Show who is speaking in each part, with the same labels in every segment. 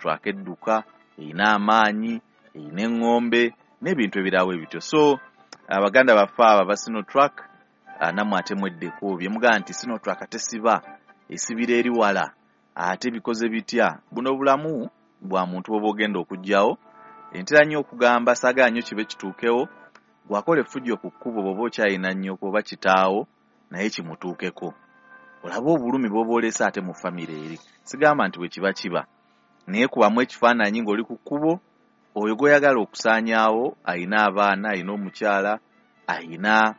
Speaker 1: Sinotruck edduka, erina amaanyi, erina eŋŋombe n'ebintu ebirala bwe bityo. So abaganda baffe abo aba Sinotruck, nammwe ate mweddeko bye mugamba nti Sinotruck tesiba, esibira eri wala, ate bikoze bitya. Buno bulamu bwa muntu bw'oba ogenda okuggyawo. Ntera nnyo okugamba, saagala nnyo kibe kituukewo, bw'akola effujjo ku kkubo bw'oba okyalina nnyoko oba kitaawo naye kimutuukeko. Olabe obulumi bw'oba oleese ate mu famire eri. Sigamba nti bwe kiba kiba, naye kubamu ekifaananyi ng'oli ku kkubo, oyo gw'oyagala okusaanyaawo alina abaana, alina omukyala, alina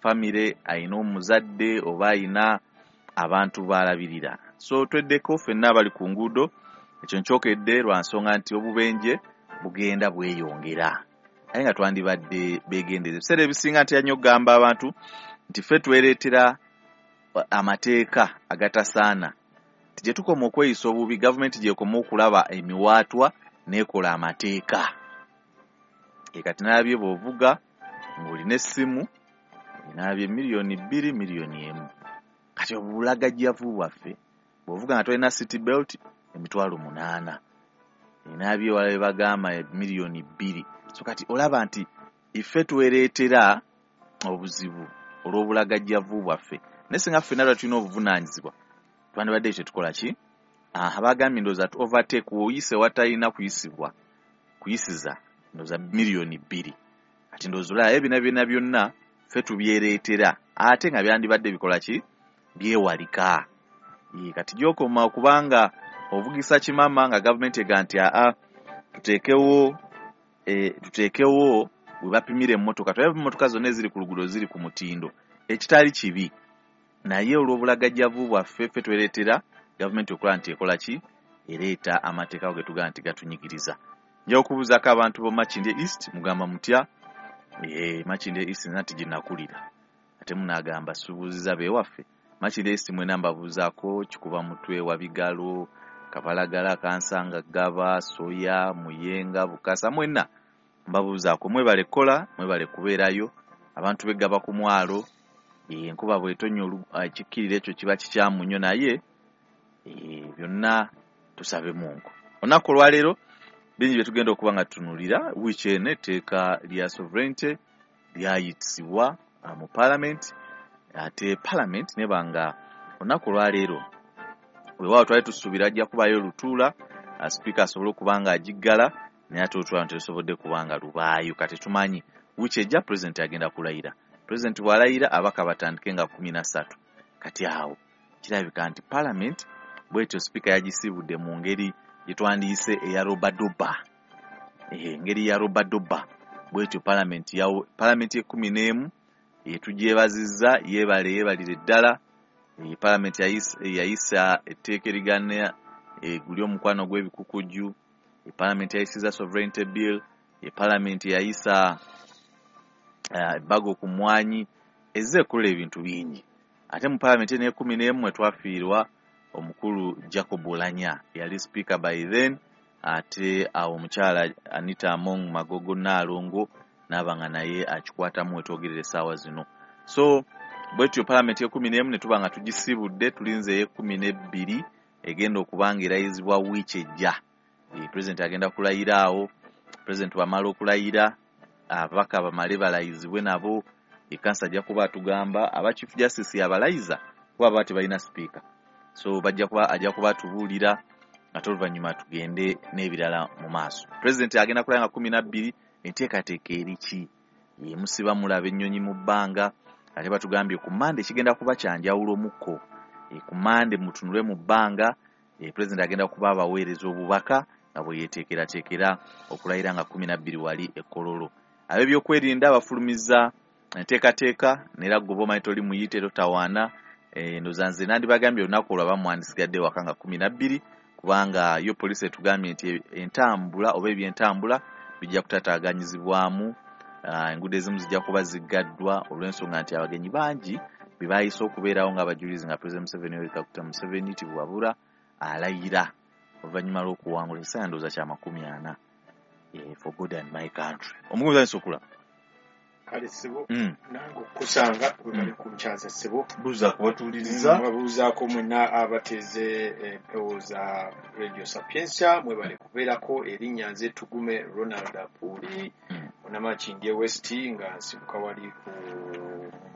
Speaker 1: famire, alina omuzadde oba alina abantu b'alabirira. So tweddeko ffenna abali ku nguudo, ekyo nkyokedde lwa nsonga nti obubenje bugenda bweyongera. Naye nga twandibadde beegendereza. Ebiseera ebisinga ntera nnyo okugamba abantu nti ffe twereetera amateeka agatasaana. Nti gye tukoma okweyisa obubi, gavumenti gy'ekoma okulaba emiwaatwa n'ekola amateeka. Kati nalabye bw'ovuga ng'olina essimu, nalabye 2 miliyoni, 1 miliyoni. Kati obulagajjavu bwaffe, bw'ovuga nga tolina seat belt, 800,000. Nalabye ewalala bye bagamba 2 miliyoni. So kati olaba nti ffe twereetera obuzibu olw'obulagajjavu bwaffe. Naye singa ffenna lwa tulina obuvunaanyizibwa, twandibadde tetukola ki? Bagambye ndowooza to overtake, w'oyise watalina kuyisibwa, kuyisiza ndowooza 2 miliyoni. Kati ndowooza olaba ebyo byonna byonna ffe tubyereetera, ate nga byandibadde bikola ki? Byewalika. Kati gy'okoma okubanga ovugisa kimama nga gavumenti egamba nti aa tuteekewo we bapimira emmotoka, tulabe emmotoka zonna eziri ku luguudo ziri ku mutindo, ekitali kibi. Naye olw'obulagajjavu bwaffe ffe twereetera gavumenti okulaba nti ekola ki? Ereeta amateeka ge tugamba nti gatunyigiriza. Nja okubuuzaako abantu b'omu Makindye East, mugamba mutya? Makindye East nze nti gye nakulira. Ate munaagamba subuuziza beewaffe. Makindye East mwena mbabuuzaako, Kikuba Mutwe, Wabigalo, Kabalagala, Kansanga, Ggaba, Soya, Muyenga, Bukasa, mwenna mbabuuzaako. Mwebale kukola, mwebale kubeerayo. Abantu b'eggaba ku mwalo, enkuba bw'etonnya ekikkirira ekyo kiba kikyamu nnyo, naye byonna tusabe Mungu. Olunaku olwaleero bingi bye tugenda okuba nga tutunuulira. Wiiki eno etteeka lya sovereignty lyayitisibwa mu parliament, ate parliament neba nga olunaku olwaleero weewaawo twali tusuubira ajja kubaayo olutuula, sipiika asobole okuba nga agiggala, naye ate olutuula terusobodde kuba nga lubaayo. Kati tumanyi wiiki ejja pulezidenti agenda kulayira. Pulezidenti bw'alayira, ababaka batandike nga 13. Kati awo kirabika nti parliament bwetyo sipiika yagisiibudde mu ngeri gye twandiyise eya robadoba, engeri ya robadoba bwetyo parliament yawo, parliament y'11 tugyebazizza, yeebale yeebalire ddala. Parliament yayisa etteeka erigana guli omukwano gw'ebikukujju. Parliament yayisiza sovereignty bill. Parliament yayisa ebbago ku mmwanyi, ezze ekola ebintu bingi. Ate mu parliament eno ey'11 mwe twafiirwa omukulu Jacob Oulanyah, yali speaker by then, ate awo omukyala Anita Among Magogo Nnaalongo n'aba nga naye akikwatamu wetwogerera essaawa zino. So bwetyo parliament y'11 ne tuba nga tugisiibudde, tulinze ey'e-12 egenda okuba nga erayizibwa wiiki ejja. President agenda kulayira awo. President bw'amala okulayira, ababaka bamale balayizibwe nabo. Ekkansa ajja kuba atugamba aba Chief Justice yabalayiza kuba baba tebalina sipiika, so bajja kuba ajja kuba atubuulira, ate oluvannyuma tugende n'ebirala mu maaso. President agenda kulayira nga 12. Enteekateeka eri ki? Musiba mulaba ennyonyi mu bbanga, ate batugambye ku Mande kigenda kuba kyanjawulo mukko. Ku Mande mutunule mu bbanga, president agenda kuba abaweereza obubaka nga bwe yeeteekerateekera okulayira nga 12 wali e Kololo. Ab'ebyokwerinda bafulumizza enteekateeka, neera gwe oba omanyi toli muyite totawaana. Ndowooza nze nandibagambye olunaku olwo abamu mwandisigadde waka nga 12, kubanga yo poliisi etugambye nti entambula oba ebyentambula bijja kutataaganyizibwamu, enguudo ezimu zijja kuba ziggaddwa olw'ensonga nti abagenyi bangi be bayise okubeerawo ng'abajulizi nga President Museveni, Yoweri Kaguta Museveni Tibuhaburwa, alayira oluvannyuma lw'okuwangula ekiseera ndowooza kya 40, for God and my country. Omugumiza nsi okulaba.
Speaker 2: Kale ssebo, nange okukusanga webale kunkyaza ssebo.
Speaker 1: Buuza kubatuuliriza.
Speaker 2: Babuuzaako mwenna abateeze empewo za Radio Sapientia, mwebale kubeerako. Erinnya nze Tugume Ronald Apuuli, Munamakindye West, nga nsibuka wali ku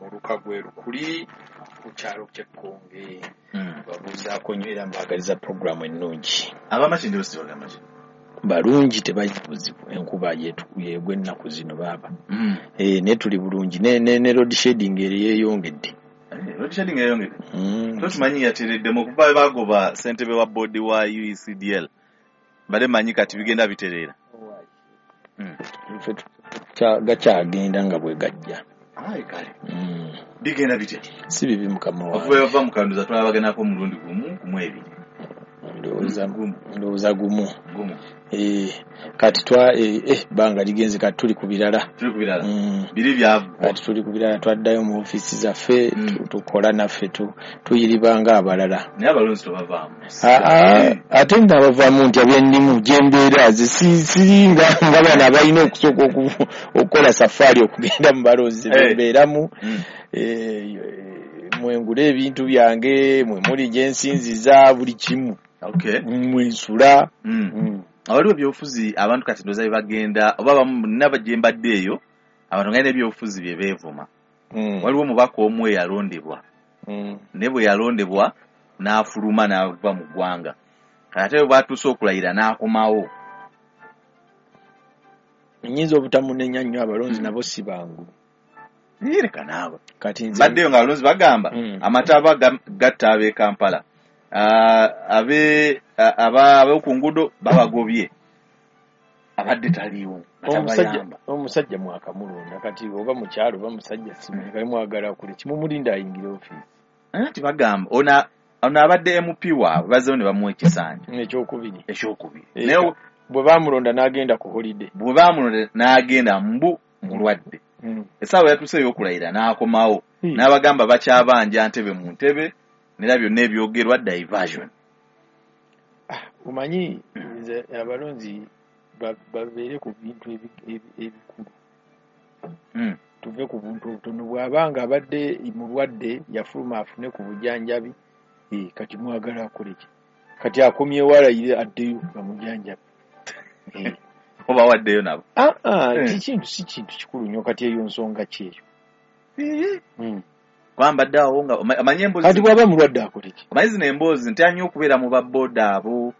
Speaker 2: muluka gw'e Lukuli ku kyalo ky'Ekkonge. Babuuzaako nnyo era mbaagaliza puroguramu ennungi.
Speaker 1: Abamakindye West bagamba ki?
Speaker 2: Balungi, tebalina buzibu, enkuba yegwa ennaku zino baaba. Naye tuli bulungi, ne load shedding yeeyongedde.
Speaker 1: Load shedding yeeyongedde? Tokimanyi yatereddemu okuva bagoba ssentebe wa boodi wa UECDL. Mbadde mmanyi kati bigenda bitereera.
Speaker 2: Ffe gakyagenda nga bwe gajja.
Speaker 1: Ayi kale. Bigenda bitya?
Speaker 2: Si bibi mukama wange.
Speaker 1: Okuva bava mu Kanduza twalabaganako omulundi gumu ku mwebiri.
Speaker 2: Ndowooza gumu. Kati bbanga ligenze, kati tuli ku birala.
Speaker 1: Tuli ku birala. Biri byavu.
Speaker 2: Kati tuli ku birala, twaddayo mu ofiisi zaffe, tukola naffe, tuyiriba ng'abalala.
Speaker 1: Naye abalonzi tobavaamu.
Speaker 2: Ate nno abavaamu nti ab'ennimu gy'embeera ze siri nga bano abalina okusooka okukola safaari okugenda mu balonzi bembeeramu. Mwengule ebintu byange, mwe muli gye nsinziza buli kimu. Mwensula.
Speaker 1: Awaliwo ebyobufuzi abantu kati ndowooza bye bagenda oba abamu nina gye mbadde eyo abantu nga balina ebyobufuzi bye beevuma. Waliwo omubaka omu eyalondebwa, naye bwe yalondebwa n'afuluma n'ava mu ggwanga, kati ate bwe bwatuuse okulayira n'akomawo.
Speaker 2: Nnyinza obutamunenya nnyo, abalonzi nabo si bangu.
Speaker 1: Leka naawe. Kati mbaddeyo nga abalonzi bagamba amataba gatta ab'e Kampala, ab'oku nguudo babagobye, abadde taliiwo.
Speaker 2: Omusajja mwakamulonda kati oba mukyalo oba musajja simanyi, kali mwagala kule kimumulinda ayingire ofiisi.
Speaker 1: Anti bagamba ono abadde MP waabwe bazzeewo ne bamuwa ekisanja
Speaker 2: ekyokubiri.
Speaker 1: Naye
Speaker 2: bwe baamulonda n'agenda ku holiday.
Speaker 1: Bwe baamulonda n'agenda mbu mulwadde. Essaawa yatuuse ey'okulayira n'akomawo n'abagamba bakyabanja ntebe mu ntebe, nera byonna ebyogerwa diversion.
Speaker 2: Omanyi nze abalonzi babeere ku bintu ebikulu. Tuve ku buntu obutono. Bw'abanga abadde mulwadde yafuluma afune ku bujjanjabi, kati mwagala akole ki? Kati akomyewo alayire addeyo bamujanjabe.
Speaker 1: Oba waddeyo nabo.
Speaker 2: Kintu si kintu kikulu nnyo, kati eyo nsonga ki eyo?
Speaker 1: Kwambadde awo nga omanyi emboozi.
Speaker 2: Kati bw'aba mulwadde akole ki?
Speaker 1: Omanyi zino emboozi ntya nnyo okubeera mu babooda abo.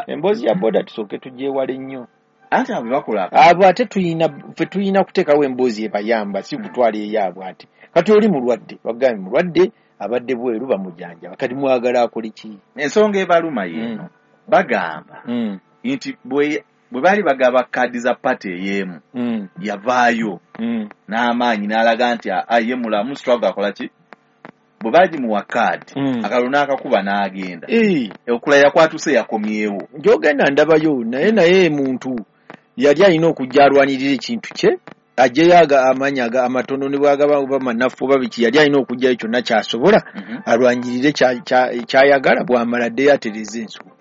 Speaker 2: Emboozi ya booda tusooke tugyewale nnyo.
Speaker 1: Anti abo bakola.
Speaker 2: Abo ate ffe tulina kuteekawo emboozi ebayamba, si kutwala eyaabwe ate. Kati oli mulwadde, bagambye mulwadde abadde bweru bamujanjaba, kati mwagala akole ki?
Speaker 1: Ensonga ebaluma yeeno. Bagamba nti bwe baali bagaba kaadi za pati ey'emu, yavaayo n'amaanyi n'alaga nti ye mulamu, struggle akola ki? Bwe bagimuwa kaadi, akalulu n'akakuba n'agenda. Okulayira kwatuuse yakomyewo.
Speaker 2: Gy'ogenda ndabayo, naye muntu yali alina okujja alwanirira ekintu kye, ajjeyo amaanyi amatono ne bw'agaba oba manafu oba biki, yali alina okujjayo kyonna ky'asobola alwanirire ky'ayagala, bw'amala addeyo atereeze ensonga.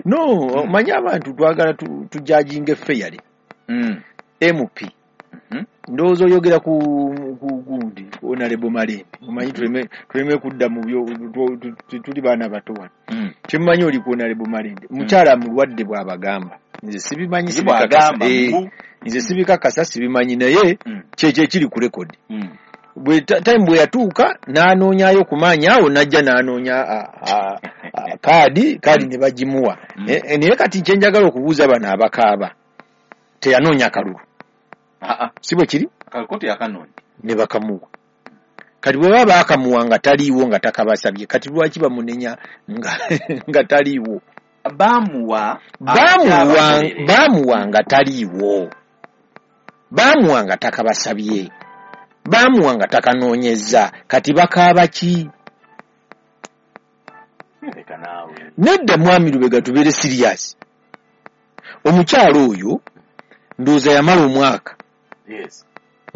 Speaker 2: No, omanyi abantu twagala tujajinga fairly. MP ndowooza oyogera ku gundi Honorable Malembe, omanyi tuleme kudda mu byo, tuli baana bato wano. Kyemmanyi oli ku Honorable Malembe, mukyala mulwadde bw'abagamba. Nze sibimanyi, sibikakasa. Nze sibikakasa, sibimanyi, naye kyekyo ekiri ku rekodi. Time bwe yatuuka n'anoonyayo ku maanyi awo n'ajja n'anoonya kaadi ne bagimuwa. Naye kati kye njagala okubuuza bano abakaaba, teyanoonya kalulu. Si bwe kiri? Ne bakamuwa. Kati bwe baba baakamuwa nga taliiwo nga takabasabye, kati lwaki bamunenya nga taliiwo? Baamuwa nga taliiwo. Baamuwa nga takabasabye. Baamuwa nga takanoonyezza, kati bakaaba ki? Nedda mwami Lubega, tubeere serious. Omukyalo oyo ndowooza yamala omwaka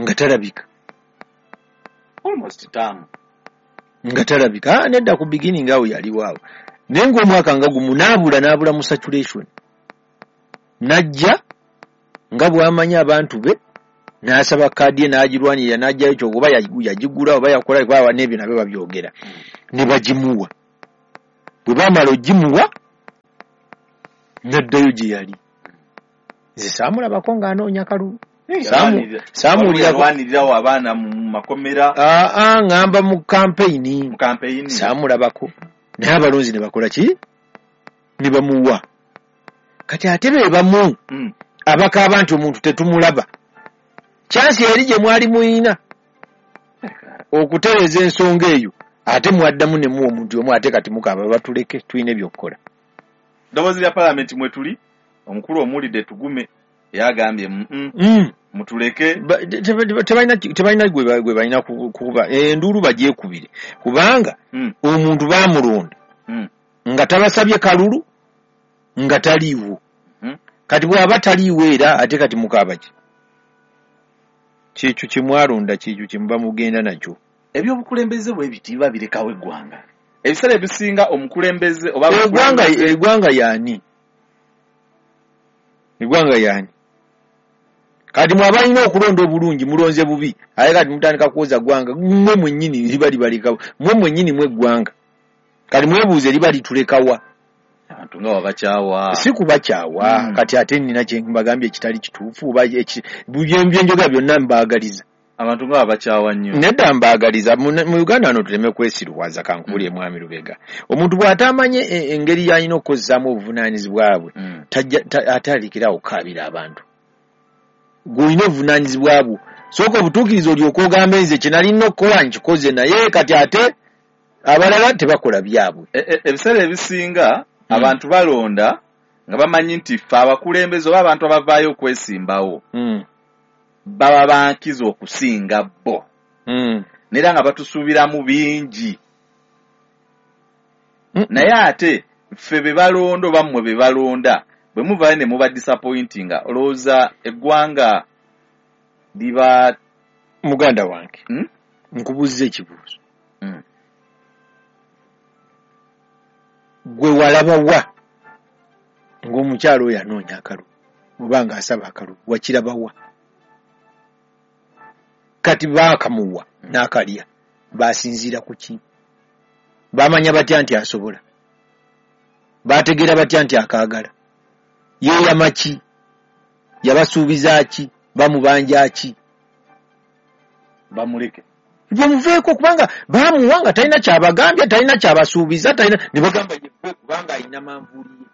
Speaker 2: nga talabika. Nga talabika. Nedda ku beginning awo yaliwo awo. Naye ng'omwaka nga gumu n'abula mu saturation. N'ajja Nga bw'amanyi abantu be, n'asaba kaadi ye n'agirwanirira n'aggyayo kyo oba yagigula oba yakola kuba n'ebyo nabyo babyogera. Ne bagimuwa. Bwe baamala ogimuwa, n'addayo gye yali. Nze saamulabako ng'anoonya kalulu.
Speaker 1: Saamuwulirako abaana mu makomera.
Speaker 2: Ŋŋamba mu kampeyini. Saamulabako. Naye abalonzi ne bakola ki? Ne bamuwa. Kati ate be bamu abakaaba nti omuntu tetumulaba. Kyansi eri gye mwali muyina okutereeza ensonga eyo ate mwaddamu ne muwa omuntu omu ate kati mukaaba batuleke tulina ebyokukola.
Speaker 1: Ddoboozi lya paalamenti mwe tuli, omukulu omuwulidde Tugume yagambye mutuleke.
Speaker 2: Tebalina gwe balina kukuba enduulu bagyekubire kubanga omuntu baamulonda nga tabasabye kalulu nga taliiwo. Kati bw'aba taliiwo era ate kati mukaaba ki? Kyekyo kye mwalonda, kyekyo kye muba mugenda nakyo.
Speaker 1: Ebyobukulembeze bwe biti biba birekawo eggwanga. Ebiseera ebisinga omukulembeze oba
Speaker 2: eggwanga y'ani? Eggwanga y'ani? Kati mwe abalina okulonda obulungi mulonze bubi, ate kati mutandika kwoza ggwanga mmwe mwennyini liba libalekawo, mmwe mwennyini mwe ggwanga. Kati mwebuuze liba litulekawa.
Speaker 1: Abantu nga babakyawa.
Speaker 2: Si kubakyawa, kati ate nnina kye mbagambye ekitali kituufu oba byenjogera byonna mbaagaliza.
Speaker 1: Abantu nga babakyawa nnyo.
Speaker 2: Nedda mbaagaliza. Mu Uganda wano tuleme kwesiruwaza kankubuulire Mwami Lubega. Omuntu bw'atamanye engeri y'alina okukozesaamu obuvunaanyizibwa bwe, atandikirawo okukaabira abantu. Gw'olina obuvunaanyizibwa bwo. Sooka obutuukirize olyoke ogambe nze kye nalina okukola nkikoze naye kati ate abalala tebakola byabwe.
Speaker 1: Ebiseera ebisinga abantu balonda nga bamanyi nti ffe abakulembeze oba abantu abavaayo okwesimbawo baba bankizo okusinga bo. N'era nga batusuubiramu bingi. Naye ate ffe be balonda oba mmwe be balonda bwe muvaayo ne muba disappointinga olowooza eggwanga liba.
Speaker 2: Muganda wange, nkubuuza ekibuuzo. Gwe walaba wa ng'omukyalo oyo anoonya akalulu oba ng'asaba akalulu, wakiraba wa? Kati baakamuwa n'akalya, baasinziira ku ki? Baamanya batya nti asobola? Baategeera batya nti akaagala? Yeeyama ki? Yabasuubiza ki? Bamubanja ki?
Speaker 1: Bamuleke.
Speaker 2: Bamuveeko kubanga baamuwa nga talina kyabagambye, talina kyabasuubiza, talina ne bagamba ye kubanga alina manvuuli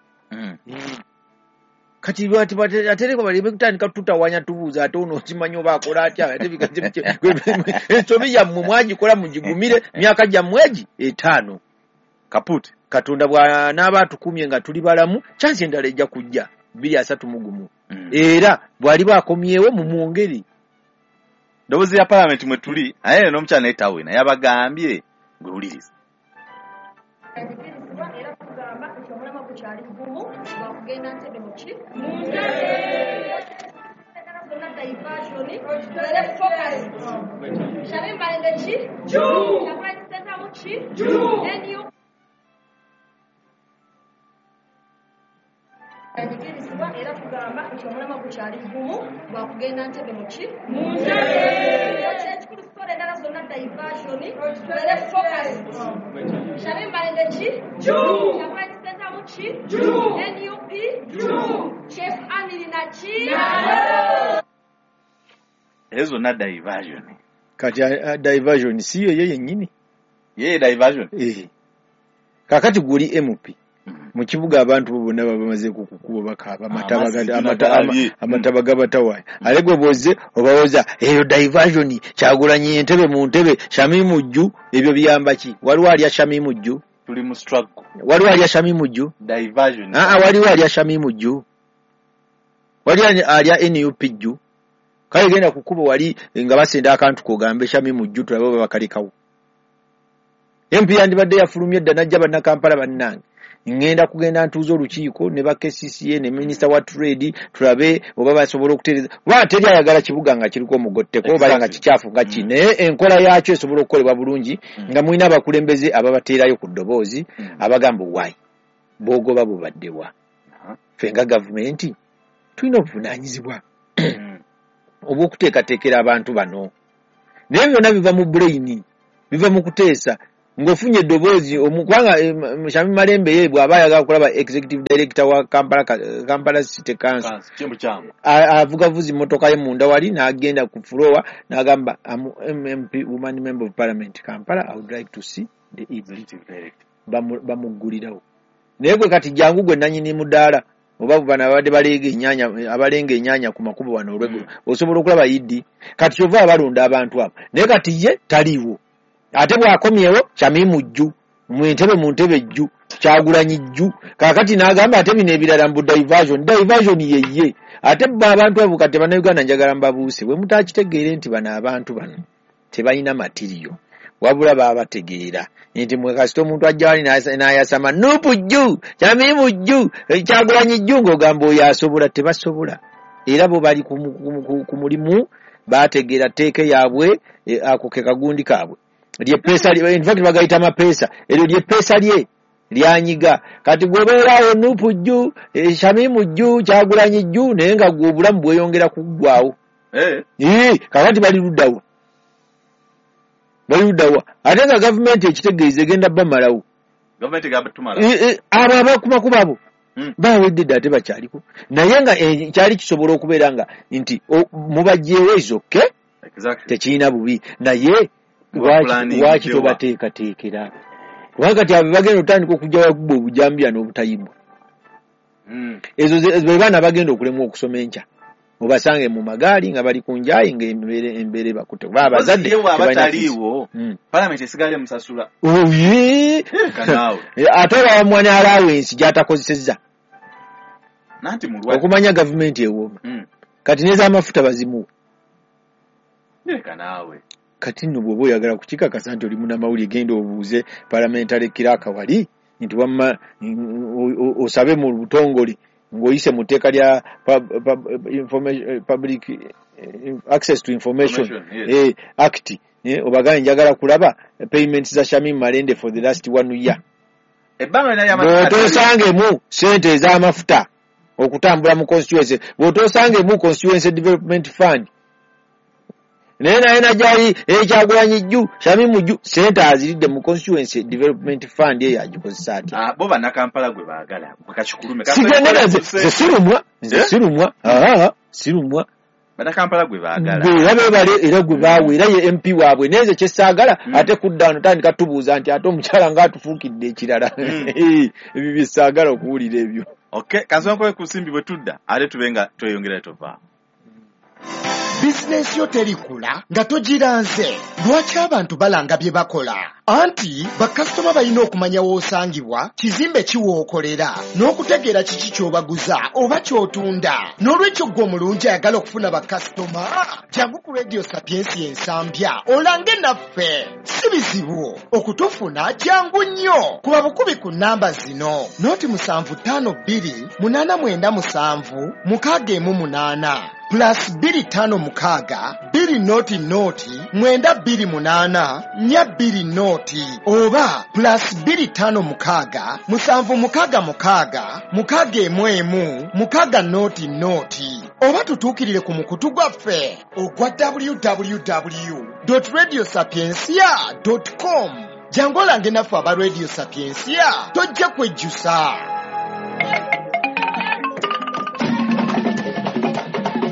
Speaker 2: ye. Kati atereko baleme kutandika tutawanya tubuuza ate ono okimanyi oba akola atya ate ensobi yammwe mwagikola mugigumire myaka gyammwe egi 5.
Speaker 1: Kaput.
Speaker 2: Katonda bw'anaaba atukumye nga tuli balamu, kyansi endala ejja kujja 2031. Era bw'aliba akomyewo mumwongere.
Speaker 1: Ddoboozi lya paalamenti mwe tuli, naye n'omukyala naye tawena yabagambye gwe wuliriza.
Speaker 3: Era tugamba nti omulamwa gukyali gumu gwakugenda Ntebe mu ki? Mu ntebe. Zonna diversion, tubeere focused. Shamim Malende ki? Juu. Kyagulanyi Ssentamu ki? Juu. NUP. Anyigirizibwa era tugamba nti omulamwa gukyali gumu gwakugenda Ntebe mu ki? Mu ntebe. Ekikulu sitole endala zonna diversion, tubeere focused. Shamim Malende ki? Juu. Kyagulanyi Ssentamu ki? Juu. NUP? Juu. Chef Anilina ki?
Speaker 1: Ezo zonna diversion.
Speaker 2: Kati diversion si yo ye yennyini.
Speaker 1: Ye diversion.
Speaker 2: Kaakati gw'oli MP. Mu kibuga abantu bo bonna baba bamaze kukukuba bakaaba amataba gabatawaanya. Ate gwe bw'ozze obawoza eyo diversion, Kyagulanyi entebe mu ntebe, Shamimu Jju, ebyo biyamba ki? Waliwo alya Shamimu Jju?
Speaker 1: Tuli mu struggle.
Speaker 2: Waliwo alya Shamimu Jju?
Speaker 1: Diversion.
Speaker 2: Waliwo alya Shamimu Jju? Waliwo alya NUP Jju? Kale genda ku kkubo wali nga basenda akantu k'ogambe Shamimu Jju tulabe oba bakalekawo. MP yandibadde yafulumye dda n'ajja bannakampala bannange. Ngenda kugenda ntuuza olukiiko ne ba KCCA ne minisita wa trade tulabe oba basobola okutereeza. Kuba teri ayagala kibuga nga kiriko omugotteko oba nga kikyafu nga ki, naye enkola yaakyo esobola okukolebwa bulungi nga mulina abakulembeze ababateerayo ku ddoboozi abagamba waayi boogoba bubaddewa. Ffe nga gavumenti tulina obuvunaanyizibwa. Obw'okuteekateekera abantu bano. Naye byonna biva mu brain, biva mu kuteesa. Ng'ofunye eddoboozi kubanga Shamim Malembe ye bw'aba ayagala kulaba executive director wa Kampala City Council, avuga vuzi mmotoka ye munda wali n'agenda ku floor n'agamba, "Am MP, woman member of parliament Kampala, I would like to see the executive director." Bamuggulirawo. Naye gwe kati jangu gwe nannyini mudaala oba bano abadde baleega ennyaanya, abalenga ennyaanya ku makubo wano olweggulo, osobola okulaba ED. Kati kyova abalonda abantu abo, naye kati ye taliiwo. Ate bw'akomyewo Shamimu jju mu ntebe jju, Kyagulanyi jju. Kaakati n'agamba ate bino ebirala mbu diversion yeye. Ate bo abantu abo kati Bannayuganda njagala mbabuuse, bwe mutakitegeere nti bano abantu bano tebalina matiriyo, wabula baabategeera nti mwe kasita omuntu ajja wali n'ayasama Nupu jju, Shamimu jju, Kyagulanyi jju, ng'ogamba oyo asobola. Tebasobola. Era bo bali ku mulimu, baategeera tteeka yaabwe, ako ke kagundi kaabwe. Lyeppeesa, in fact bagayita amapeesa, eryo lyeppeesa lye lyanyiga. Kati gweobeeraawo Nupu jju, Shamimu jju, Kyagulanyi jju, naye nga gwe obulamu bweyongera kuggwawo. Kakati bali luddawa? Bali luddawa? Ate nga gavumenti ekitegeeza egenda bamalawo. Abo abakumakuba abo bawedde dda, ate bakyaliko. Naye nga kyali kisobola okubeera nga nti mubajjeewo ezokke, tekirina bubi, naye lwaki tobateekateekera? Kubanga kati abo bagenda otandika okujja wakuba obujambiya n'obutayibwa. Ezo be baana bagenda okulemwa okusoma enkya, obasange mu magaali nga bali ku njayi ng'embeera ebakutte. Kuba abazadde
Speaker 1: tebalina palamenti esigala emusasula.
Speaker 2: Ate olaba ne allowance gy'atakozesezza. Okumanya gavumenti ewooma. Kati n'ez'amafuta bazimuwa. Kati nno bw'oba oyagala kukikakasa nti oli munnamawulire, genda obuuze parliamentary clerk wali nti wamma osabe mu butongole ng'oyise mu tteeka lya Public Access to Information Act, obagambe njagala kulaba payments za Shamim Malende for the last 1 year. Bw'otoosangemu ssente ez'amafuta okutambula mu constituency, bw'otoosangemu Constituency Development Fund, naye najali Kyagulanyi jju, Shamimu jju, ssente aziridde mu Constituency Development Fund eyo agikozesa atya?
Speaker 1: Bo Bannakampala gwe baagala kakikulume.
Speaker 2: Nze sirumwa, nze sirumwa, sirumwa.
Speaker 1: Bannakampala gwe baagala.
Speaker 2: Gwe bebale era gwe baawe, era ye MP waabwe. Naye nze kye saagala ate kudda wano tandika tubuuza nti ate omukyala ng'atufuukidde ekirala. Ebyo bye saagala okuwulira ebyo.
Speaker 1: Okay, kansonkowe ku nsimbi bwe tudda ate tube nga tweyongera tovaawo.
Speaker 4: Bizinensi yo terikula nga togiranze. Lwaki abantu balanga bye bakola? Anti bakasitoma balina okumanya w'osangibwa, kizimbe ki w'okolera, n'okutegeera kiki ky'obaguza oba ky'otunda. N'olwekyo ggwe omulungi ayagala okufuna bakasitoma, jangu ku Radio Sapiensia Ensambya olange naffe. Si bizibu okutufuna, jangu nnyo. Kuba bukubi ku nnamba zino: 0752 897 618 plus 256 2 0 0 928 4 20 oba plus 256 766 611 6 0 0, oba tutuukirire ku mukutu gwaffe ogwa www.radiosapiensia.com. Jangu olange naffe aba Radio Sapiensia, tojja kwejjusa.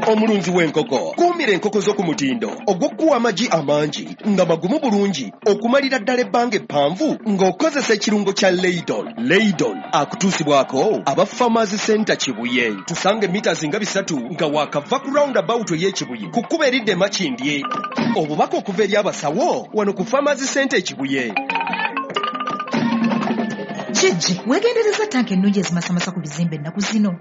Speaker 5: Omulunzi w'enkoko, kuumira enkoko zo ku mutindo ogw'okuwa amagi amangi nga magumu bulungi okumalira ddala ebbanga eppanvu ng'okozesa ekirungo kya Leydon. Leydon akutuusibwako aba Farmers Center Kibuye. Tusange mita nga 3 nga waakava ku roundabout ey'Ekibuye ku kkubo eridda e Makindye. Obubaka okuva eri abasawo wano ku Farmers Center Ekibuye.
Speaker 6: Kijji, weegendereza tanka ennungi ezimasamasa ku bizimbe ennaku zino.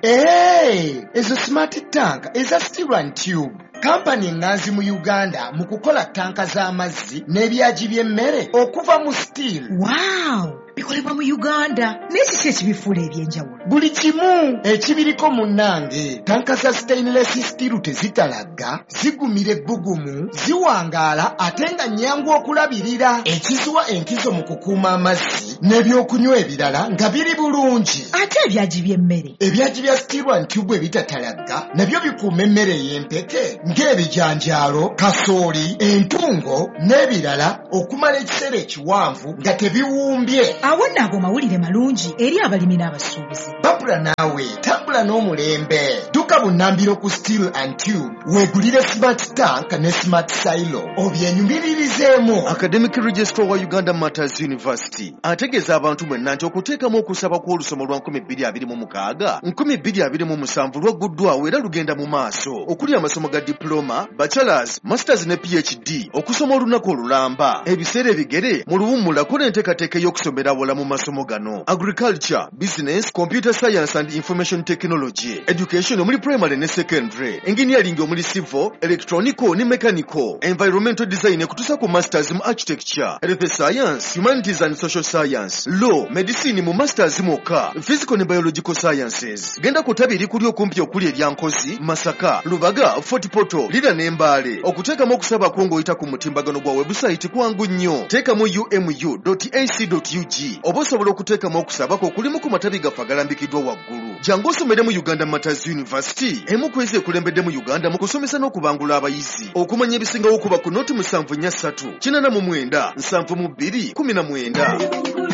Speaker 4: Ezo smart tank eza steel and tube. Kampani eŋŋanzi mu Uganda mu kukola tanka z'amazzi n'ebyagi by'emmere okuva mu steel.
Speaker 6: Wow! Bikolebwa mu Uganda. Naye kiki ekibifuula eby'enjawulo?
Speaker 4: Buli kimu ekibiriko munnange. Tanka za stainless steel tezitalagga, zigumira ebbugumu, ziwangaala ate nga nnyangu okulabirira. Ekiziwa enkizo mu kukuuma amazzi n'ebyokunywa ebirala nga biri bulungi.
Speaker 6: Ate ebyagi by'emmere?
Speaker 4: Ebyagi bya steel and tube ebitatalagga nabyo bikuuma emmere ey'empeke ng'ebijanjaalo, kasooli, entungo n'ebirala okumala ekiseera ekiwanvu nga tebiwumbye.
Speaker 6: Awo nno ago mawulire malungi eri abalimi n'abasuubuzi.
Speaker 4: Babula naawe tambula n'omulembe. Dduka bunnambiro ku Steel and Tube weegulire smart tank ne smart silo obyenyumiririzeemu.
Speaker 5: Academic Registrar wa Uganda Martyrs University ategeeza abantu mwenna nti okuteekamu okusaba kw'olusoma lwa 2026 2027 lwagguddwawo era lugenda mu maaso, okuli amasomo ga diploma, bachelors, masters ne PhD, okusoma olunaku olulamba, ebiseera ebigere mu luwummula n'enteekateeka ey'okusomera awala mu masomo gano: agriculture, business, computer science and information technology, education omuli primary ne secondary, engineering omuli civil, electronical ne mechanical, environmental design ekutuusa ku masters mu architecture, health science, humanities and social science, law, medicine mu masters mwokka, physical ne biological sciences. Genda ku ttabi erikuli okumpi okuli erya Nkozi, Masaka, Lubaga, Fort Portal, Lira ne Mbale. Okuteekamu okusaba kwo ng'oyita ku mutimbagano gwa website kwangu nnyo. Teekamu umu.ac.ug oba osobola okuteekamu okusaba kwo okulimu ku matabi gaffe agalambikiddwa waggulu. Jangu osomere mu Uganda Martyrs University, emu ku ezo ekulembedde mu Uganda mu kusomesa n'okubangula abayizi. Okumanya ebisingawo kuba ku noti 743 89 72 19.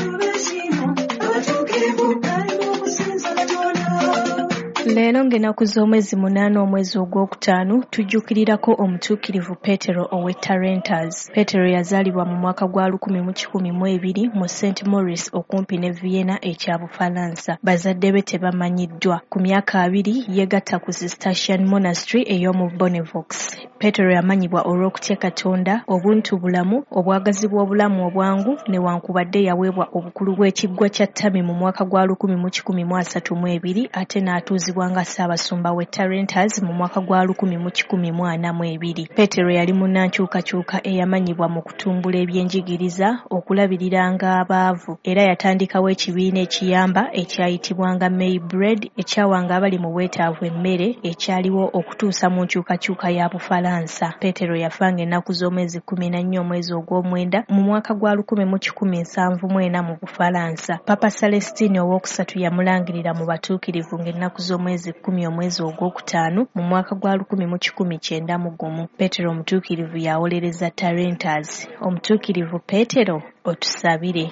Speaker 7: Leero ng'ennaku z'omwezi 8 omwezi ogwokutaano tujjukirirako omutuukirivu Peetero ow'e Tarentas. Peetero yazaalibwa mu mwaka gwa 1102 mu St Maurice okumpi ne Vienna ekya Bufalansa. Bazadde be tebamanyiddwa. Ku myaka 2 yeegatta ku Cistercian Monastery ey'omu Bonnevaux. Peetero yamanyibwa olw'okutya Katonda, obuntubulamu, obwagazi bw'obulamu obwangu newankubadde yaweebwa obukulu bw'ekiggwa kya Ttami mu mwaka gwa 1132 ate n'atuuzibwa nga Ssaabasumba w'e Tarentas mu mwaka gwa 1142. Peetero yali munnankyukakyuka eyamanyibwa mu kutumbula ebyenjigiriza, okulabiriranga abaavu, era yatandikawo ekibiina ekiyamba ekyayitibwanga May Bread ekyawanga abali mu bwetaavu emmere ekyaliwo okutuusa mu nkyukakyuka ya Bufalansa. Peetero yafa ng'ennaku z'omwezi 14 omwezi ogw'omwenda mu mwaka gwa 1174 mu Bufalansa. Papa Celestine owokusatu yamulangirira mu batuukirivu ng'ennaku z'omwezi 10 omwezi ogwokutaano mu mwaka gwa 1191. Peetero omutuukirivu yawolereza Tarentas. Omutuukirivu Peetero, otusabire.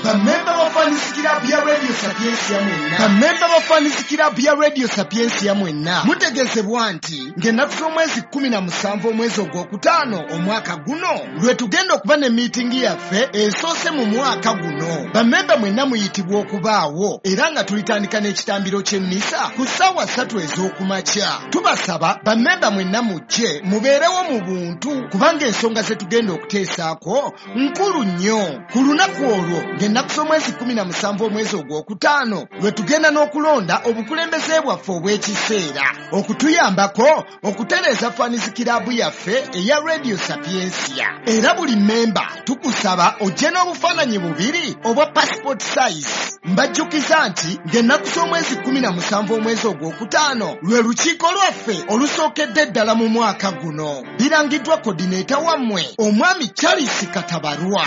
Speaker 4: Bamemba ba Fans Club ya Radio Sapientia mwenna. Bamemba ba Fans Club ya Radio Sapientia mwenna. Mutegeezebwa nti ng'ennaku z'omwezi 17 omwezi ogwokutaano omwaka guno lwe tugenda okuba ne miitingi yaffe esoose mu mwaka guno. Bamemba mwenna muyitibwa okubaawo era nga tulitandika n'ekitambiro ky'emmisa ku ssaawa 3 ez'okumakya. Tubasaba bamemba mwenna mujje mubeerewo mu buntu kubanga ensonga ze tugenda okuteesaako nkulu nnyo. Ku lunaku olwo ng'ennaku z'omwezi 17 omwezi ogwokutaano lwe tugenda n'okulonda obukulembeze bwaffe obw'ekiseera okutuyambako okutereeza Fans Club yaffe eya Radio Sapientia. Era buli mmemba tukusaba ojje n'obufaananyi bubiri obwa passport size. Mbajjukiza nti ng'ennaku z'omwezi 17 omwezi ogwokutaano lwe lukiiko lwaffe olusookedde ddala mu mwaka guno. Birangiddwa coordinator wammwe omwami Charles Katabarwa.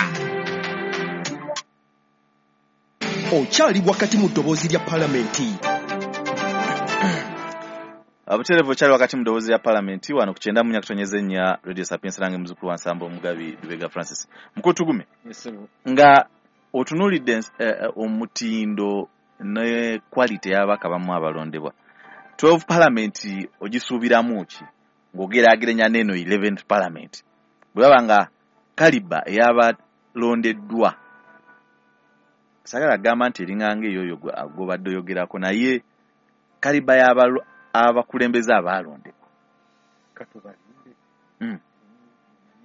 Speaker 5: Okyali wakati mu ddoboozi lya Palamenti.
Speaker 1: Obutereevu okyali wakati mu ddoboozi lya Palamenti wano ku 94.4 Radio Sapientia nange muzzukulu wa Nsamba Omugabi Lubega Francis. Mukulu Tugume, nga otunuulidde omutindo ne quality y'ababaka bamu abalondebwa, 12 Parliament ogisuubiramu ki ng'ogeraageranya n'eno 11th Parliament bwe baba nga kaliba ey'abalondeddwa? Sagala gamba nti eringanga eyoyo gw'obadde oyogerako, naye kaliba y'abakulembeze abaalondebwa.
Speaker 2: Katubalinde.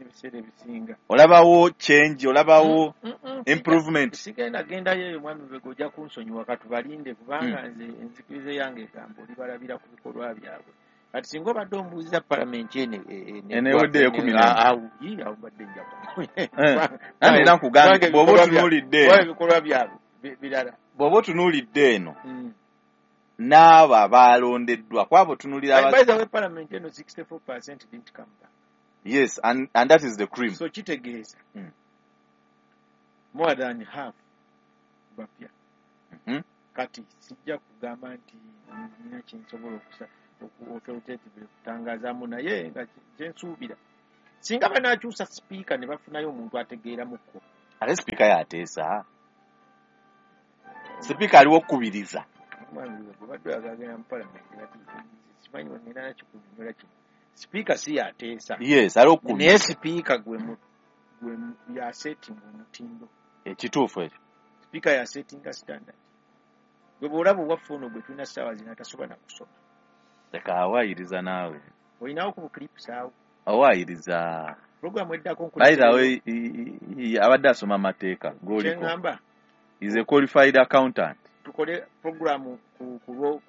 Speaker 2: Ebiseera ebisinga
Speaker 1: olabawo change, olabawo improvement.
Speaker 2: Sigenda gendayo eyo mwami Lubega, ojja kunsonyiwa. Katubalinde kubanga nze enzikiriza yange egamba olibalabira ku bikolwa byabwe. Kati singa obadde ombuuziza palamenti eno
Speaker 1: Eno ewedde ekumi n'emu.
Speaker 2: Awo awo mbadde nja
Speaker 1: Nange era nkugambye, bw'oba otunuulidde eno.
Speaker 2: Ebikolwa byabwe birala.
Speaker 1: Bw'oba otunuulidde eno n'abo abaalondeddwa kwabo otunuulira
Speaker 2: By the way, parliament eno 64% didn't come back.
Speaker 1: Yes, and that is the cream.
Speaker 2: So kitegeeza more than half bapya. Kati sijja kugamba nti nina kyensobola authoritatively kutangazaamu, naye nga kyensuubira singa banaakyusa sipiika ne bafunayo omuntu ategeeramukko.
Speaker 1: Ate sipiika yateesa, sipiika aliwo okukubiriza.
Speaker 2: Omwami we bw'obadde oyagala genda mu palamenti, kati simanyi wengenda nakikunyonnyola kino. Sipiika si yateesa.
Speaker 1: Yes, aliwo okukubiriza.
Speaker 2: Naye sipiika gwe yasetinga omutindo.
Speaker 1: Ekituufu ekyo.
Speaker 2: Sipiika yasetinga standard. Gwe bw'olaba owaffe ono gwe tulina ssaawa zino atasobola na kusoma.
Speaker 1: Leka awaayiriza naawe.
Speaker 2: Olinawo ku buclips awo.
Speaker 1: Awaayiriza.
Speaker 2: Programu eddako
Speaker 1: By the way, abadde asoma amateeka g'oliko.
Speaker 2: Kye ŋŋamba.
Speaker 1: Is a qualified accountant.
Speaker 2: Tukole programu ku lwo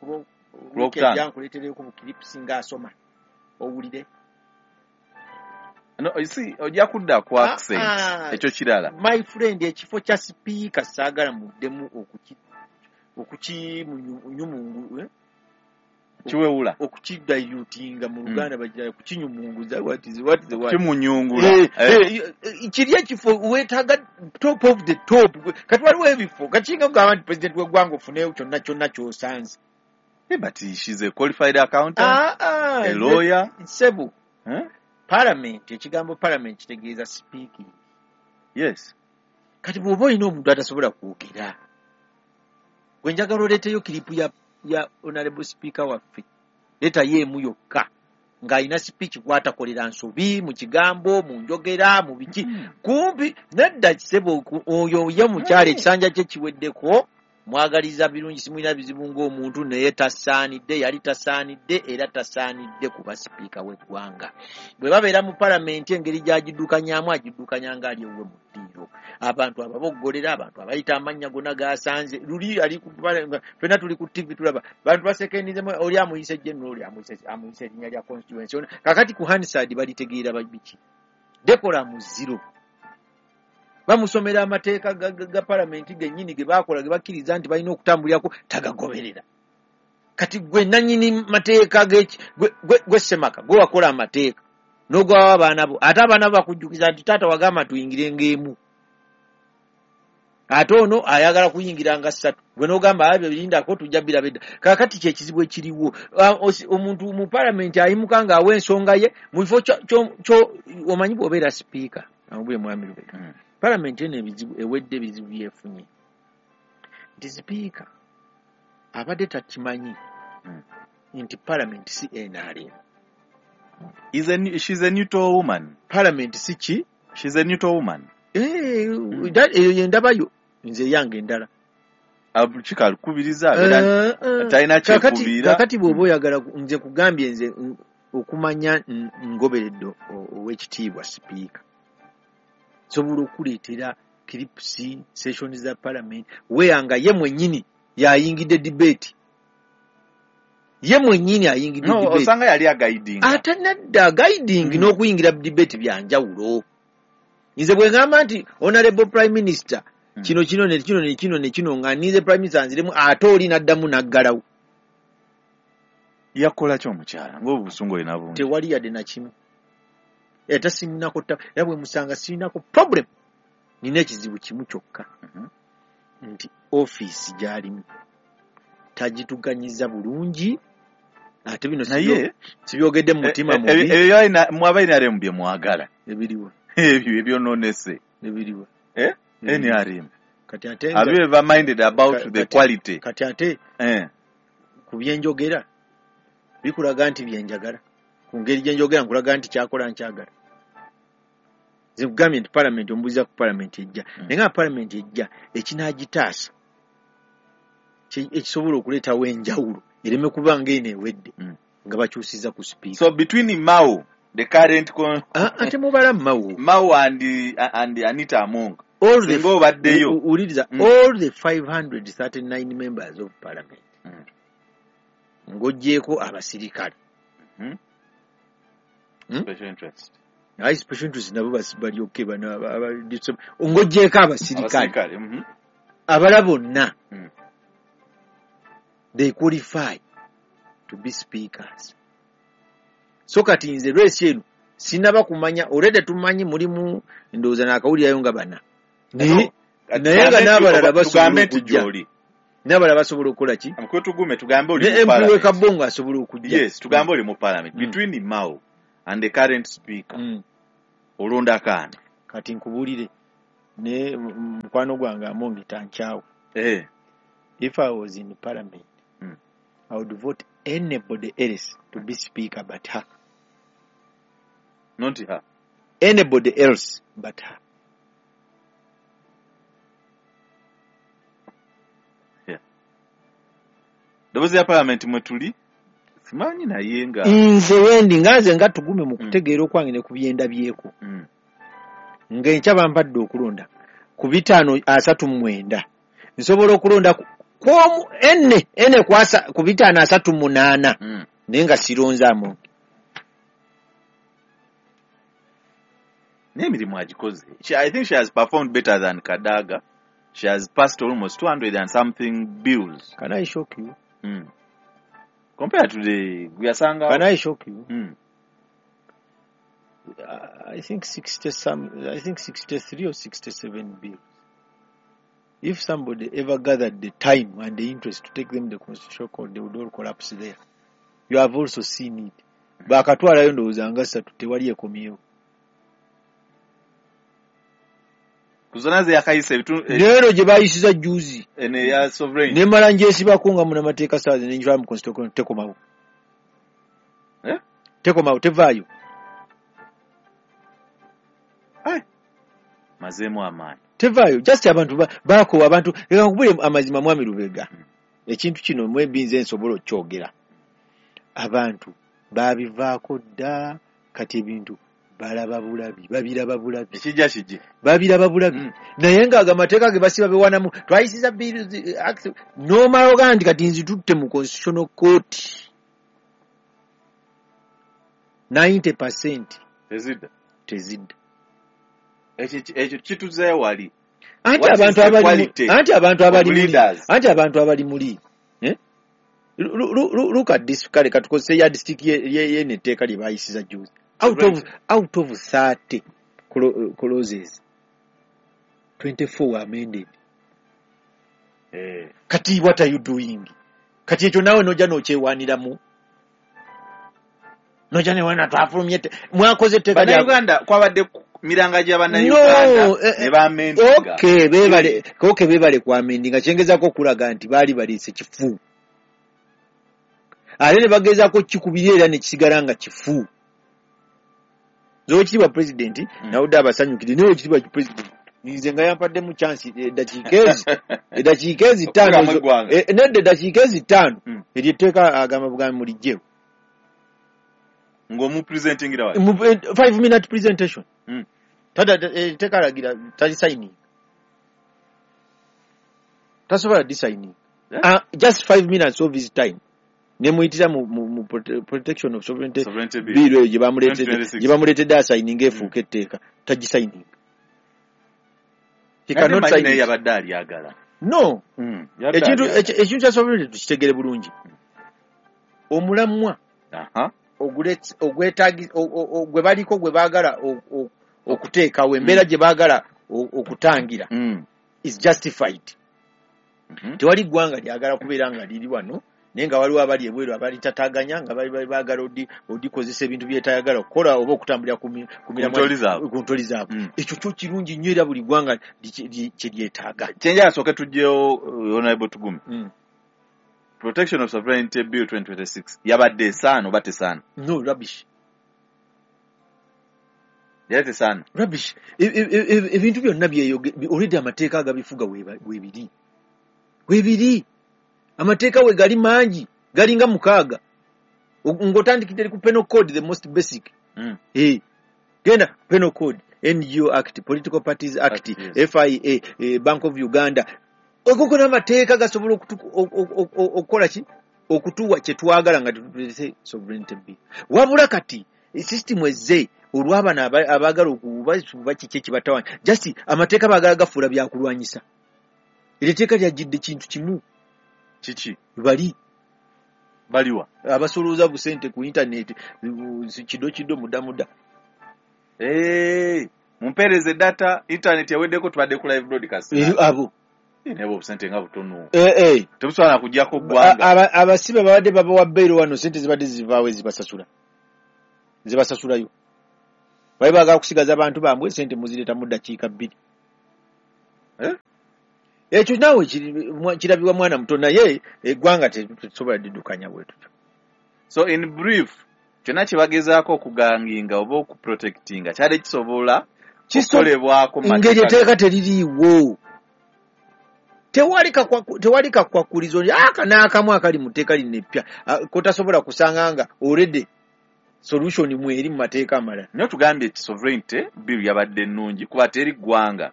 Speaker 1: Lwokutaano.
Speaker 2: weekend, nkuleetereyo ku buclips ng'asoma owulire.
Speaker 1: No, you see, ojja kudda ku accent. Ekyo kirala.
Speaker 2: My friend, ekifo kya sipiika saagala muddemu okukinyumungu, eh?
Speaker 1: Kiwewula.
Speaker 2: Okukidilutinga mu Luganda bagira kukinyumunguza. What is the word?
Speaker 1: Kimunyungula.
Speaker 2: Kiri ekifo weetaaga top of the top. Kati waliwo ebifo kakinga kugamba nti president w'eggwanga ofuneyo kyonna kyonna ky'osanze.
Speaker 1: Hey, but she's a qualified accountant, a lawyer.
Speaker 2: Ssebo,
Speaker 1: Huh?
Speaker 2: parliament, ekigambo parliament kitegeeza speaking. Kati bw'oba olina omuntu atasobola kwogera, gwe njagala oleeteyo clip ya honorable speaker waffe, leetayo emu yokka ng'alina speech kw'atakolera nsobi mu kigambo, mu njogera, mu biki. Kumpi nedda ssebo, oyo ye mukyala ekisanja kye kiweddeko, mwagaliza birungi, simulina bizibu ng'omuntu, naye tasaanidde, yali tasaanidde era tasaanidde kuba sipiika w'eggwanga. Bwe babeera mu palamenti, engeri gy'agiddukanyaamu agiddukanya ng'ali ewuwe mu ddiiro. Abantu ababoggolera, abantu abayita amannya gonna g'asanze. Luli ali ku ffenna tuli ku TV tulaba bantu basekendizemu, oli amuyise general, oli amuyise erinnya lya constituency. Kakati ku Hansard balitegeera biki? Decorum zero. Bamusomera amateeka ga palamenti gennyini ge baakola, ge bakkiriza nti balina okutambulirako, tagagoberera. Kati gwe nannyini mateeka gwe ssemaka, gwe wakola amateeka n'ogwawo abaana bo, ate abaana bo bakujjukiza nti taata wagamba tuyingire ng'emu, ate ono ayagala kuyingira nga ssatu, gwe n'ogamba abyo birindako tujja biraba edda. Kaakati kyekizibu ekiriwo, omuntu mu palamenti ayimuka ng'awa ensonga ye mu kifo omanyi bw'obeera sipiika amubule mwami Lubega. Palamenti eno ebizibu ewedde, ebizibu byefunye nti sipiika abadde takimanyi nti palamenti si NRM.
Speaker 1: She's a neutral woman.
Speaker 2: Palamenti si ki?
Speaker 1: She's a neutral woman.
Speaker 2: Eyo yendabayo nze yange endala.
Speaker 1: Kikakubiriza talina kyekubiira.
Speaker 2: Kakati bw'oba oyagala nze kugambye nze okumanya ngoberedde ow'ekitiibwa sipiika, sobola okuleetera clips sessions za parliament weya nga ye mwennyini yayingidde debate, ye mwennyini ayingidde debate.
Speaker 1: Osanga yali aguiding.
Speaker 2: Ate nedda, guiding n'okuyingira debate bya njawulo. Nze bwe ŋŋamba nti honorable prime minister kino kino ne kino ne kino ne kino, nga ninze prime minister nziremu, ate oli n'addamu n'aggalawo.
Speaker 1: Yakola ki omukyala ng'obusungu olina bungi?
Speaker 2: Tewali yadde na kimu, era sirinako, era bwe musanga sirinako problem. Nina ekizibu kimu kyokka, nti ofiisi gy'alimu tagituganyiza bulungi, ate bino
Speaker 1: Naye
Speaker 2: sibyogedde mu mutima mubi.
Speaker 1: Ebyo mwaba NRM bye mwagala.
Speaker 2: Ebiriwa?
Speaker 1: Ebyo ebyonoonese.
Speaker 2: Ebiriwa?
Speaker 1: NRM.
Speaker 2: Kati ate
Speaker 1: Have you ever minded about the quality?
Speaker 2: Kati ate ku byenjogera bikulaga nti byenjagala, ku ngeri gye njogera nkulaga nti kyakola nkyagala. Nze nkugambye nti palamenti, ombuuziza ku palamenti ejja, naye nga palamenti ejja ekinaagitaasa ekisobola okuleetawo enjawulo ereme kuba ng'eno ewedde nga bakyusiza ku sipiika.
Speaker 1: So between Mao, the current
Speaker 2: ate mubala Mao.
Speaker 1: Mao and Anita Among. Singa obaddeyo.
Speaker 2: Wuliriza, all the 539 members of parliament, ng'oggyeeko abasirikale
Speaker 1: Special interest.
Speaker 2: Aye, special interest nabo balyoke bano ng'oggyeeko abasirikale. Abala bonna they qualify to be speakers. So kati nze lwesi eno sinaba kumanya, already tumanyi mulimu ndowooza naakawulirayo nga bana, naye nga n'abalala basobola okujja, n'abalala basobola okukola ki?
Speaker 1: Tugume tugambe oli
Speaker 2: mu parliament. Ne MP Kabongo asobola okujja.
Speaker 1: Yes, tugambe oli mu parliament. Between Mao and the current speaker, olonda kaani?
Speaker 2: Kati nkubuulire, ne mukwano gwange Amongi tankyawa. If I was in parliament, I would vote anybody else to be speaker but her.
Speaker 1: Not her.
Speaker 2: Anybody else but her.
Speaker 1: Yeah. Ndowooza ya parliament mwe tuli simanyi naye nga
Speaker 2: nze wendi nga nze nga tugume mu kutegeera okwange ne ku byendabyeko. Ng'enkya bampadde okulonda ku 539 nsobola okulonda ku enne ku 538 naye nga sironze Amongi.
Speaker 1: N'emirimu agikoze. I think she has performed better than Kadaga. She has passed almost 200 and something bills.
Speaker 2: Can I shock you?
Speaker 1: Compared to the Guyasanga.
Speaker 2: Can I shock you? I think 63 or 67 bills. If somebody ever gathered the time and the interest to take them to the Constitutional Court, they would all collapse there. You have also seen it. Bakatwalayo ndowooza nga ssatu tewali ekomyewo.
Speaker 1: Kuzona ze yakayisa ebitundu
Speaker 2: leero gye baayisiza jjuuzi
Speaker 1: eno eya sovereign
Speaker 2: nemala ngyesibako nga munnamateeka ssaawa zino nenjitwala mu Constitutional Court, tekomawo. Tekomawo, tevaayo.
Speaker 1: Mazeemu amaanyi.
Speaker 2: Tevaayo. Just abantu baakoowa abantu. Leka nkubule amazima mwami Lubega. Ekintu kino mwembi nze nsobola okukyogera. Abantu baabivaako dda, kati ebintu balaba bulabi, babiraba bulabi.
Speaker 1: Ekijja kijje.
Speaker 2: Babiraba bulabi. Naye ng'ago amateeka ge basiba bewanamu, twayisiza bills n'omala ogaa nti kati nzitutte mu Constitutional Court. 90%
Speaker 1: tezidda.
Speaker 2: Tezidda.
Speaker 1: Ekyo kituzeeyo wali.
Speaker 2: Anti abantu abali muli. Look at this, kale katukozese yardstick yene etteeka lye baayisiza jjuuzi. Out of 30 clauses, 24 were amended. Kati what are you doing? Kati ekyo naawe n'ojja n'okyewaaniramu. N'ojja newaana twafulumye mwakoze etteeka
Speaker 1: lya Bannayuganda kwabadde miranga gya Bannayuganda ne baamendinga.
Speaker 2: Okay, beebale kwamendinga. Kyengezaako okulaga nti baali baleese kifu. Ate ne bagezaako kikubira era ne kisigala nga kifu. Owekitiibwa pulezidenti nawudde abasanyukidde, naye owekitiibwa pulezidenti nze nga yampaddemu chance eddakiika ezi ttaano nedda eddakiika ezi ttaano eryo etteeka agamba bugambi muliggyewo.
Speaker 1: Ng'omupresentingira wali?
Speaker 2: 5-minute presentation. Etteeka alagira talisayininga. Tasobola disayininga. Just 5 minutes of his time. Nemuyitira mu protection of sovereignty bill eyo gye bamuleetedde asayininga efuuka etteeka, tagisayininga. He cannot sign it.
Speaker 1: Yabadde alyagala.
Speaker 2: No. Ekintu kya sovereignty tukitegere bulungi. Omulamwa gwe baliko gwe baagala okuteekawo, embeera gye baagala okutangira is justified. Tewali ggwanga lyagala kubeera nga liri wano naye nga waliwo abali ebweru abalitataganya nga bali baagala odikozesa ebintu byetayagala okukola oba okutambulira ku ntoli zaabwe. Ekyo kyo kirungi nnyo era buli ggwanga kye lyetaaga.
Speaker 1: Kyenjala sooke tuggyewo Honorable Tugume. Protection of Sovereignty Bill 2026 yabadde esaana oba tesaana?
Speaker 2: No, rubbish.
Speaker 1: Yali tesaana?
Speaker 2: Rubbish. Ebintu byonna already amateeka agabifuga weebiri. Weebiri. Amateeka we gali mangi, galinga 6. Ng'otandikidde ku Penal Code, the most basic. Genda Penal Code, NGO Act, Political Parties Act,
Speaker 1: yes.
Speaker 2: FIA, Bank of Uganda. Okwo n'amateeka gasobola okukola ki? Okutuwa kye twagala nga tetulese sovereignty bill. Wabula kati system ezze olw'abano abaagala okuba kiki ekibatawanya, just amateeka baagala gafuula byakulwanyisa. Eryo etteeka lyajjidde kintu kimu.
Speaker 1: Kiki?
Speaker 2: Bali
Speaker 1: baliwa
Speaker 2: abasolooza busente ku internet, kido kido, muda muda.
Speaker 1: Hey, mumpeereze data, internet yaweddeko, tubadde ku live broadcast.
Speaker 2: Abo
Speaker 1: naye obusente nga butono, tebusobola kujjako ggwanga.
Speaker 2: Abasibe babadde babawa bbeero wano, sente zibadde zivaawo ezibasasula, zibasasulayo. Bali baagala kusigaza abantu bambwe, sente muzireeta mu ddakiika 2. Ekyo naawe kirabibwa mwana muto, naye eggwanga tetusobola diddukanya bwe tutyo.
Speaker 1: So in brief, kyonna kye bagezaako okuganginga oba okuprotectinga kyali kisobola kukolebwako
Speaker 2: ngeri etteeka teririiwo. Tewali kakwakulizo aka n'akamu akali mu tteeka lino eppya kotasobola kusanga nga already solution mweri mu mateeka amalala.
Speaker 1: Naye tugambye nti sovereignty bill yabadde nnungi kuba teri ggwanga.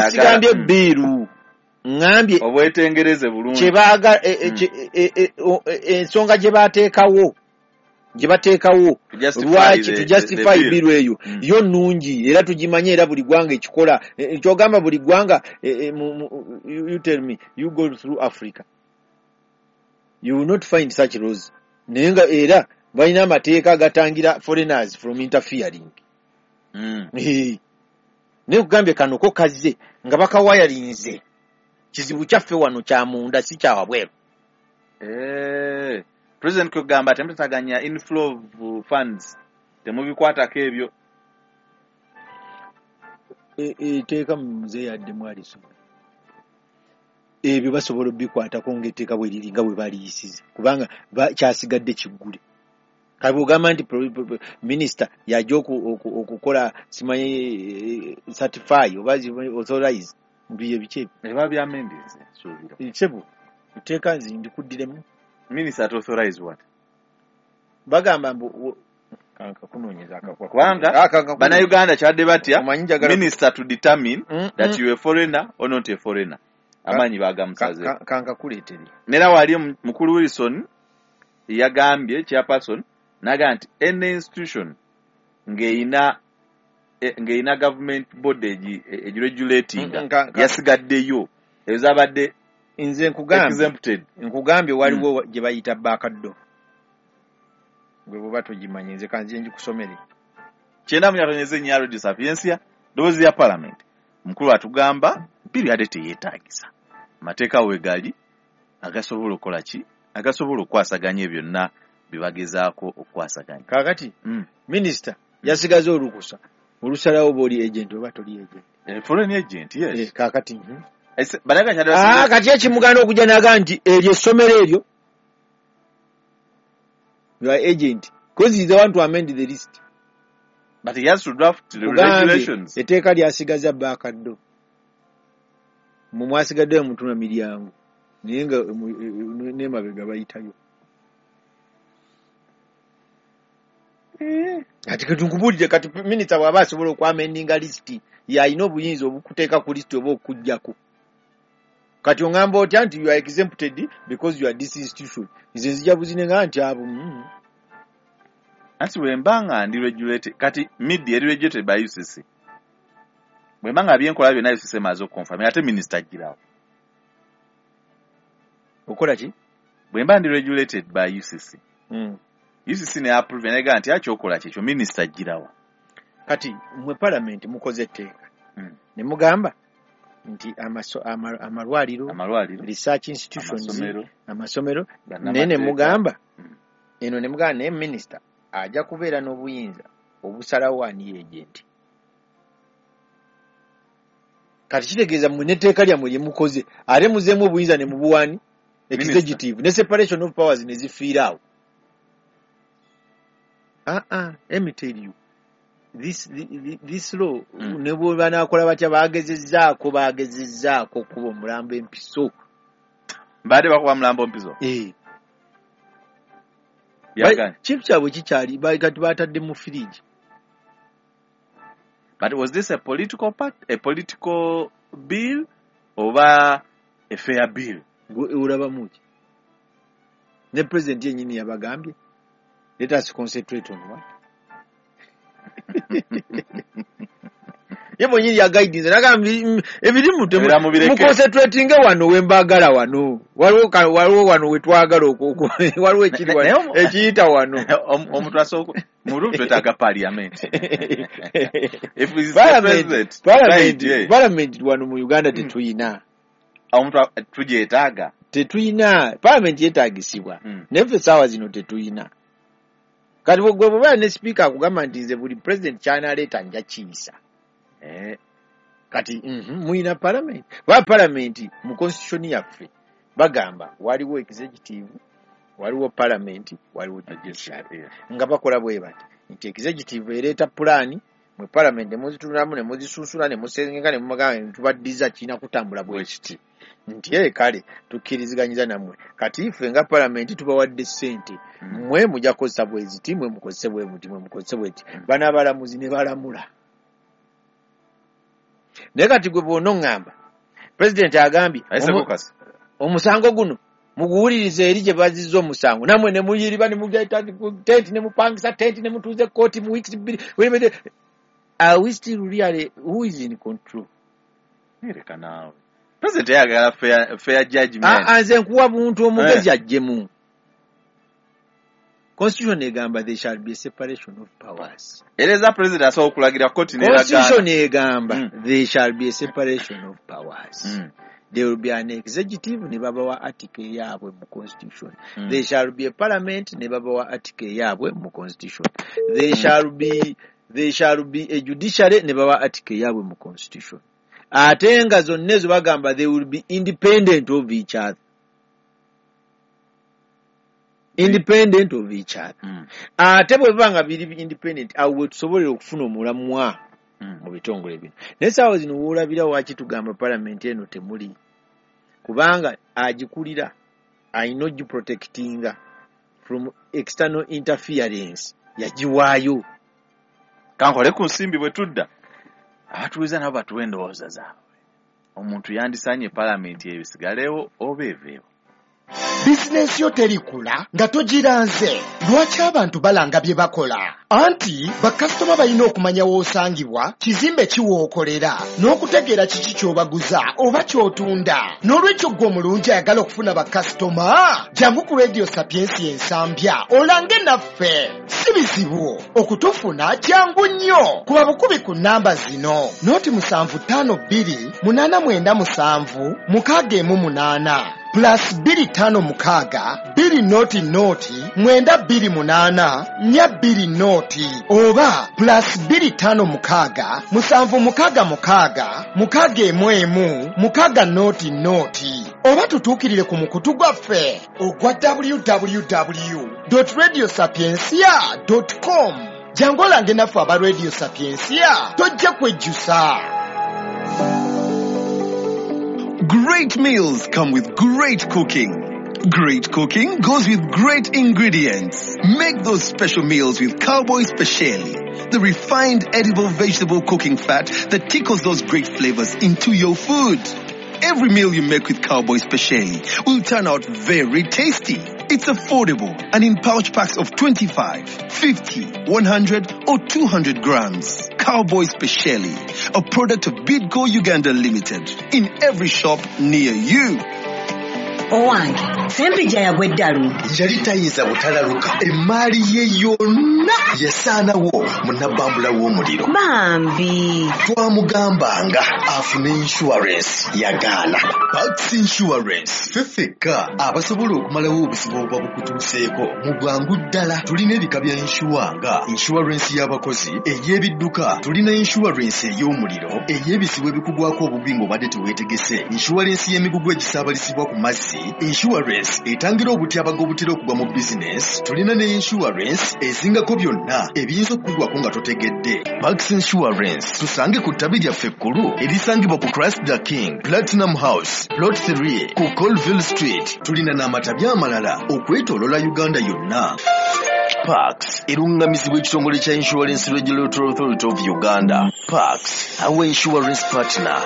Speaker 2: Sigambye bill, ŋŋambye
Speaker 1: obwetengereze bulungi
Speaker 2: kyebaagala, ensonga gye bateekawo lwaki to justify bill eyo yo nnungi era tugimanye, era buli ggwanga ekikola. Kyogamba buli ggwanga, you tell me, you go through Africa, you will not find such laws. Naye nga era balina amateeka agatangira foreigners from interfering. Naye kugambye kano ko kazze nga bakawayalinze. Kizibu kyaffe wano kya munda, si kya wabweru.
Speaker 1: President kugamba temutataganya inflow of funds, temubikwatako ebyo.
Speaker 2: Etteeka muzeeyi addemu alisoma. Ebyo basobola obikwatako ng'etteeka bwe liri nga bwe baliyisiza, kubanga kyasigadde kiggule. Kati bw'ogamba nti minisita yajja okukola simanyi certify oba authorize bye biki ebyo?
Speaker 1: Eba bya amendments, nsuubira.
Speaker 2: Ssebo, etteeka nze ndikuddiremu.
Speaker 1: Minister to authorize what?
Speaker 2: Bagamba mbu kankakunoonyeza akakwa.
Speaker 1: Kubanga Bannayuganda kyabadde batya minister to determine that you a foreigner or not a foreigner. Amaanyi bagamusaze.
Speaker 2: Kankakuleetere.
Speaker 1: Nera wali mukulu Wilson yagambye chairperson naga nti any institution ng'eyina government body egiregulatinga yasigaddeyo ezo zabadde
Speaker 2: nze nkugambye waliwo gye bayita backdoor. Gwe bw'oba togimanyi nze kanzije ngikusomere.
Speaker 1: 94.4 Radio Sapientia, ddoboozi lya Parliament. Mukulu atugamba bill yadde teyeetaagisa. Amateeka weegali agasobola okukola ki? Agasobola okukwasaganya byonna bye bagezaako okukwasaganya.
Speaker 2: Kaakati minisita yasigaza olukusa olusalawo bw'oli agent oba toli agent.
Speaker 1: Foreign agent, yes.
Speaker 2: Kaakati kati ekimugaana okujja n'agamba nti eryo essomero eryo you are agent because he's the one to amend the list.
Speaker 1: But he has to draft the regulations.
Speaker 2: Etteeka lyasigaza backdoor. Mwe mwasigaddeyo mutuna miryango naye nga n'emabega bayitayo. Kati nkubuulire, kati minisita bw'aba asobola okwamendinga lisiti, y'alina obuyinza obukuteeka ku lisiti oba okuggyako. Kati oŋŋamba otya nti you are exempted because you are this institution? Nze nzija buzine nga nti abo.
Speaker 1: Anti bwe mba nga ndi regulated, kati media eri regulated by UCC. Bwe mba nga byenkola byonna UCC emaze okuconfirm, ate minisita agirawo.
Speaker 2: Okola ki?
Speaker 1: Bwe mba ndi regulated by UCC. UCC ne approve nega nti akyokola kyekyo minisita agirawo.
Speaker 2: Kati mmwe parliament mukoze etteeka. Ne mugamba nti amalwaliro, research institutions, amasomero, naye ne mugamba eno ne mugamba naye minisita ajja kubeera n'obuyinza obusalawo ani agent. Kati kitegeeza mmwe n'etteeka lyammwe lye mukoze ate muzeemu obuyinza ne mubuwani executive ne separation of powers ne zifiira awo. Let me tell you, this law ne bwe banaakola batya bagezezzaako okuba omulambo empiso.
Speaker 1: Mbadde bakuba mulambo mpiso?
Speaker 2: Kintu kyabwe kikyali kati batadde mu fridge.
Speaker 1: But was this a political part, a political bill oba a fair bill?
Speaker 2: Olabamu ki? Ne president yennyini yabagambye, let us concentrate on what? Ye mwennyini yaguidinze nagamba ebirimu muconcentratinge wano wembagala wano waliwo wano wetwagala waliwo ekiri ekiyita wano.
Speaker 1: Omuntu asooka mulufu twetaaga parliament. If
Speaker 2: Parliament wano mu Uganda tetuyina.
Speaker 1: Omuntu tugyetaaga.
Speaker 2: Tetuyina. Parliament yeetaagisibwa. Naye ffe essaawa zino tetuyina. Kati gwe bw'obeera ne speaker akugamba nti nze buli president ky'anaaleeta nja kiyisa. Kati muyina parliament. Kuba parliament mu constitution yaffe bagamba waliwo executive, waliwo parliament, waliwo judiciary. Nga bakola bwe bati nti executive ereeta pulaani, mwe parliament ne muzitunulamu ne muzisunsula ne musengeka ne mumagamba tubaddiza kirina kutambula bwe kiti. Nti kale tukkiriziganyiza nammwe. Kati ffe nga parliament tubawadde ssente, mmwe mujja kukozesa bwe ziti, mmwe mukozese bwe muti, mmwe mukozese bwe ti. Bano abalamuzi ne balamula. Naye kati gwe bw'onoŋŋamba president agambye omusango guno muguwulirize eri gye bazizza omusango, nammwe ne muyiriba ne mugaita tenti ne mupangisa tenti ne mutuuza ekkooti mu weeks 2. Are we still really, who is in control?
Speaker 1: Leka naawe. President ayagala fair judgment.
Speaker 2: Nze nkuwa buntu omugezi ajjemu. Constitution egamba there shall be a separation of powers.
Speaker 1: Ereza president asobola okulagira kkooti n'eragaana.
Speaker 2: Constitution egamba there shall be a separation of powers. There will be an executive ne babawa article yaabwe mu constitution. There shall be a parliament ne babawa article yaabwe mu constitution. There shall be a judiciary ne babawa article yaabwe mu constitution. Ate nga zonna ezo bagamba they will be independent of each other. Independent of each other. Ate bwe biba nga biri independent, awo we tusobolera okufuna omulamwa mu bitongole bino. Naye essaawa zino woolabira waaki tugamba parliament eno temuli, kubanga agikulira alina ogiprotectinga from external interference, yagiwaayo.
Speaker 1: Kankole ku nsimbi bwe tudda abatuuliza nabo batuwe endowooza zaabwe. Omuntu yandisaanye parliament ebisigalewo oba eveewo.
Speaker 4: Bizinensi yo terikula nga togiranze. Lwaki abantu balanga bye bakola? Anti bakasitoma balina okumanya w'osangibwa, kizimbe ki w'okolera, n'okutegeera kiki ky'obaguza oba ky'otunda. N'olwekyo ggwe omulungi ayagala okufuna bakasitoma, jangu ku Radio Sapiensia Ensambya olange naffe. Si bizibu okutufuna, kyangu nnyo. Kuba bukubi ku nnamba zino: 0752 897 618 plus 256 200 928 420 oba plus 256 766 611 600 oba tutuukirire ku mukutu gwaffe ogwa www.radiosapiencia.com. Jangu olange naffe aba Radio Sapiensia, tojja kwejjusa.
Speaker 5: Great meals come with great cooking. Great cooking goes with great ingredients. Make those special meals with Cowboy Speciale, the refined edible vegetable cooking fat that tickles those great flavors into your food. Every meal you make with Cowboy Speciale will turn out very tasty. It's affordable and in pouch packs of 25, 50, 100 or 200 grams. Cowboy Speciale, a product of Bidco Uganda Limited, in every shop near you.
Speaker 6: Owange Sempijja yagwa eddalu.
Speaker 8: Yali tayinza butalaluka, emaali ye yonna yasaanawo mu nabbambula w'omuliro.
Speaker 6: Bambi
Speaker 8: twamugambanga afune insurance, yagaana. Pax Insurance ffe ffekka abasobola okumalawo obuzibu obuba bukutuuseeko mu bwangu ddala. Tulina ebika bya insure nga insurance y'abakozi, ey'ebidduka, tulina insurance ey'omuliro, ey'ebizibu ebikugwako obubi ng'obadde teweetegese, insurance y'emigugu egisaabalizibwa ku mazzi, insurance etangira obutyabaga obutera okugwa mu bizinesi, tulina ne insurance ezingako byonna ebiyinza okukugwako nga totegedde. Pax Insurance tusange ku ttabi lyaffe ekkulu erisangibwa ku Christ the King Platinum House Plot 3 ku Colville Street. Tulina n'amatabi amalala okwetooloola Uganda yonna. Pax erungamizibwa ekitongole kya Insurance Regulatory Authority of Uganda. Pax, our insurance partner.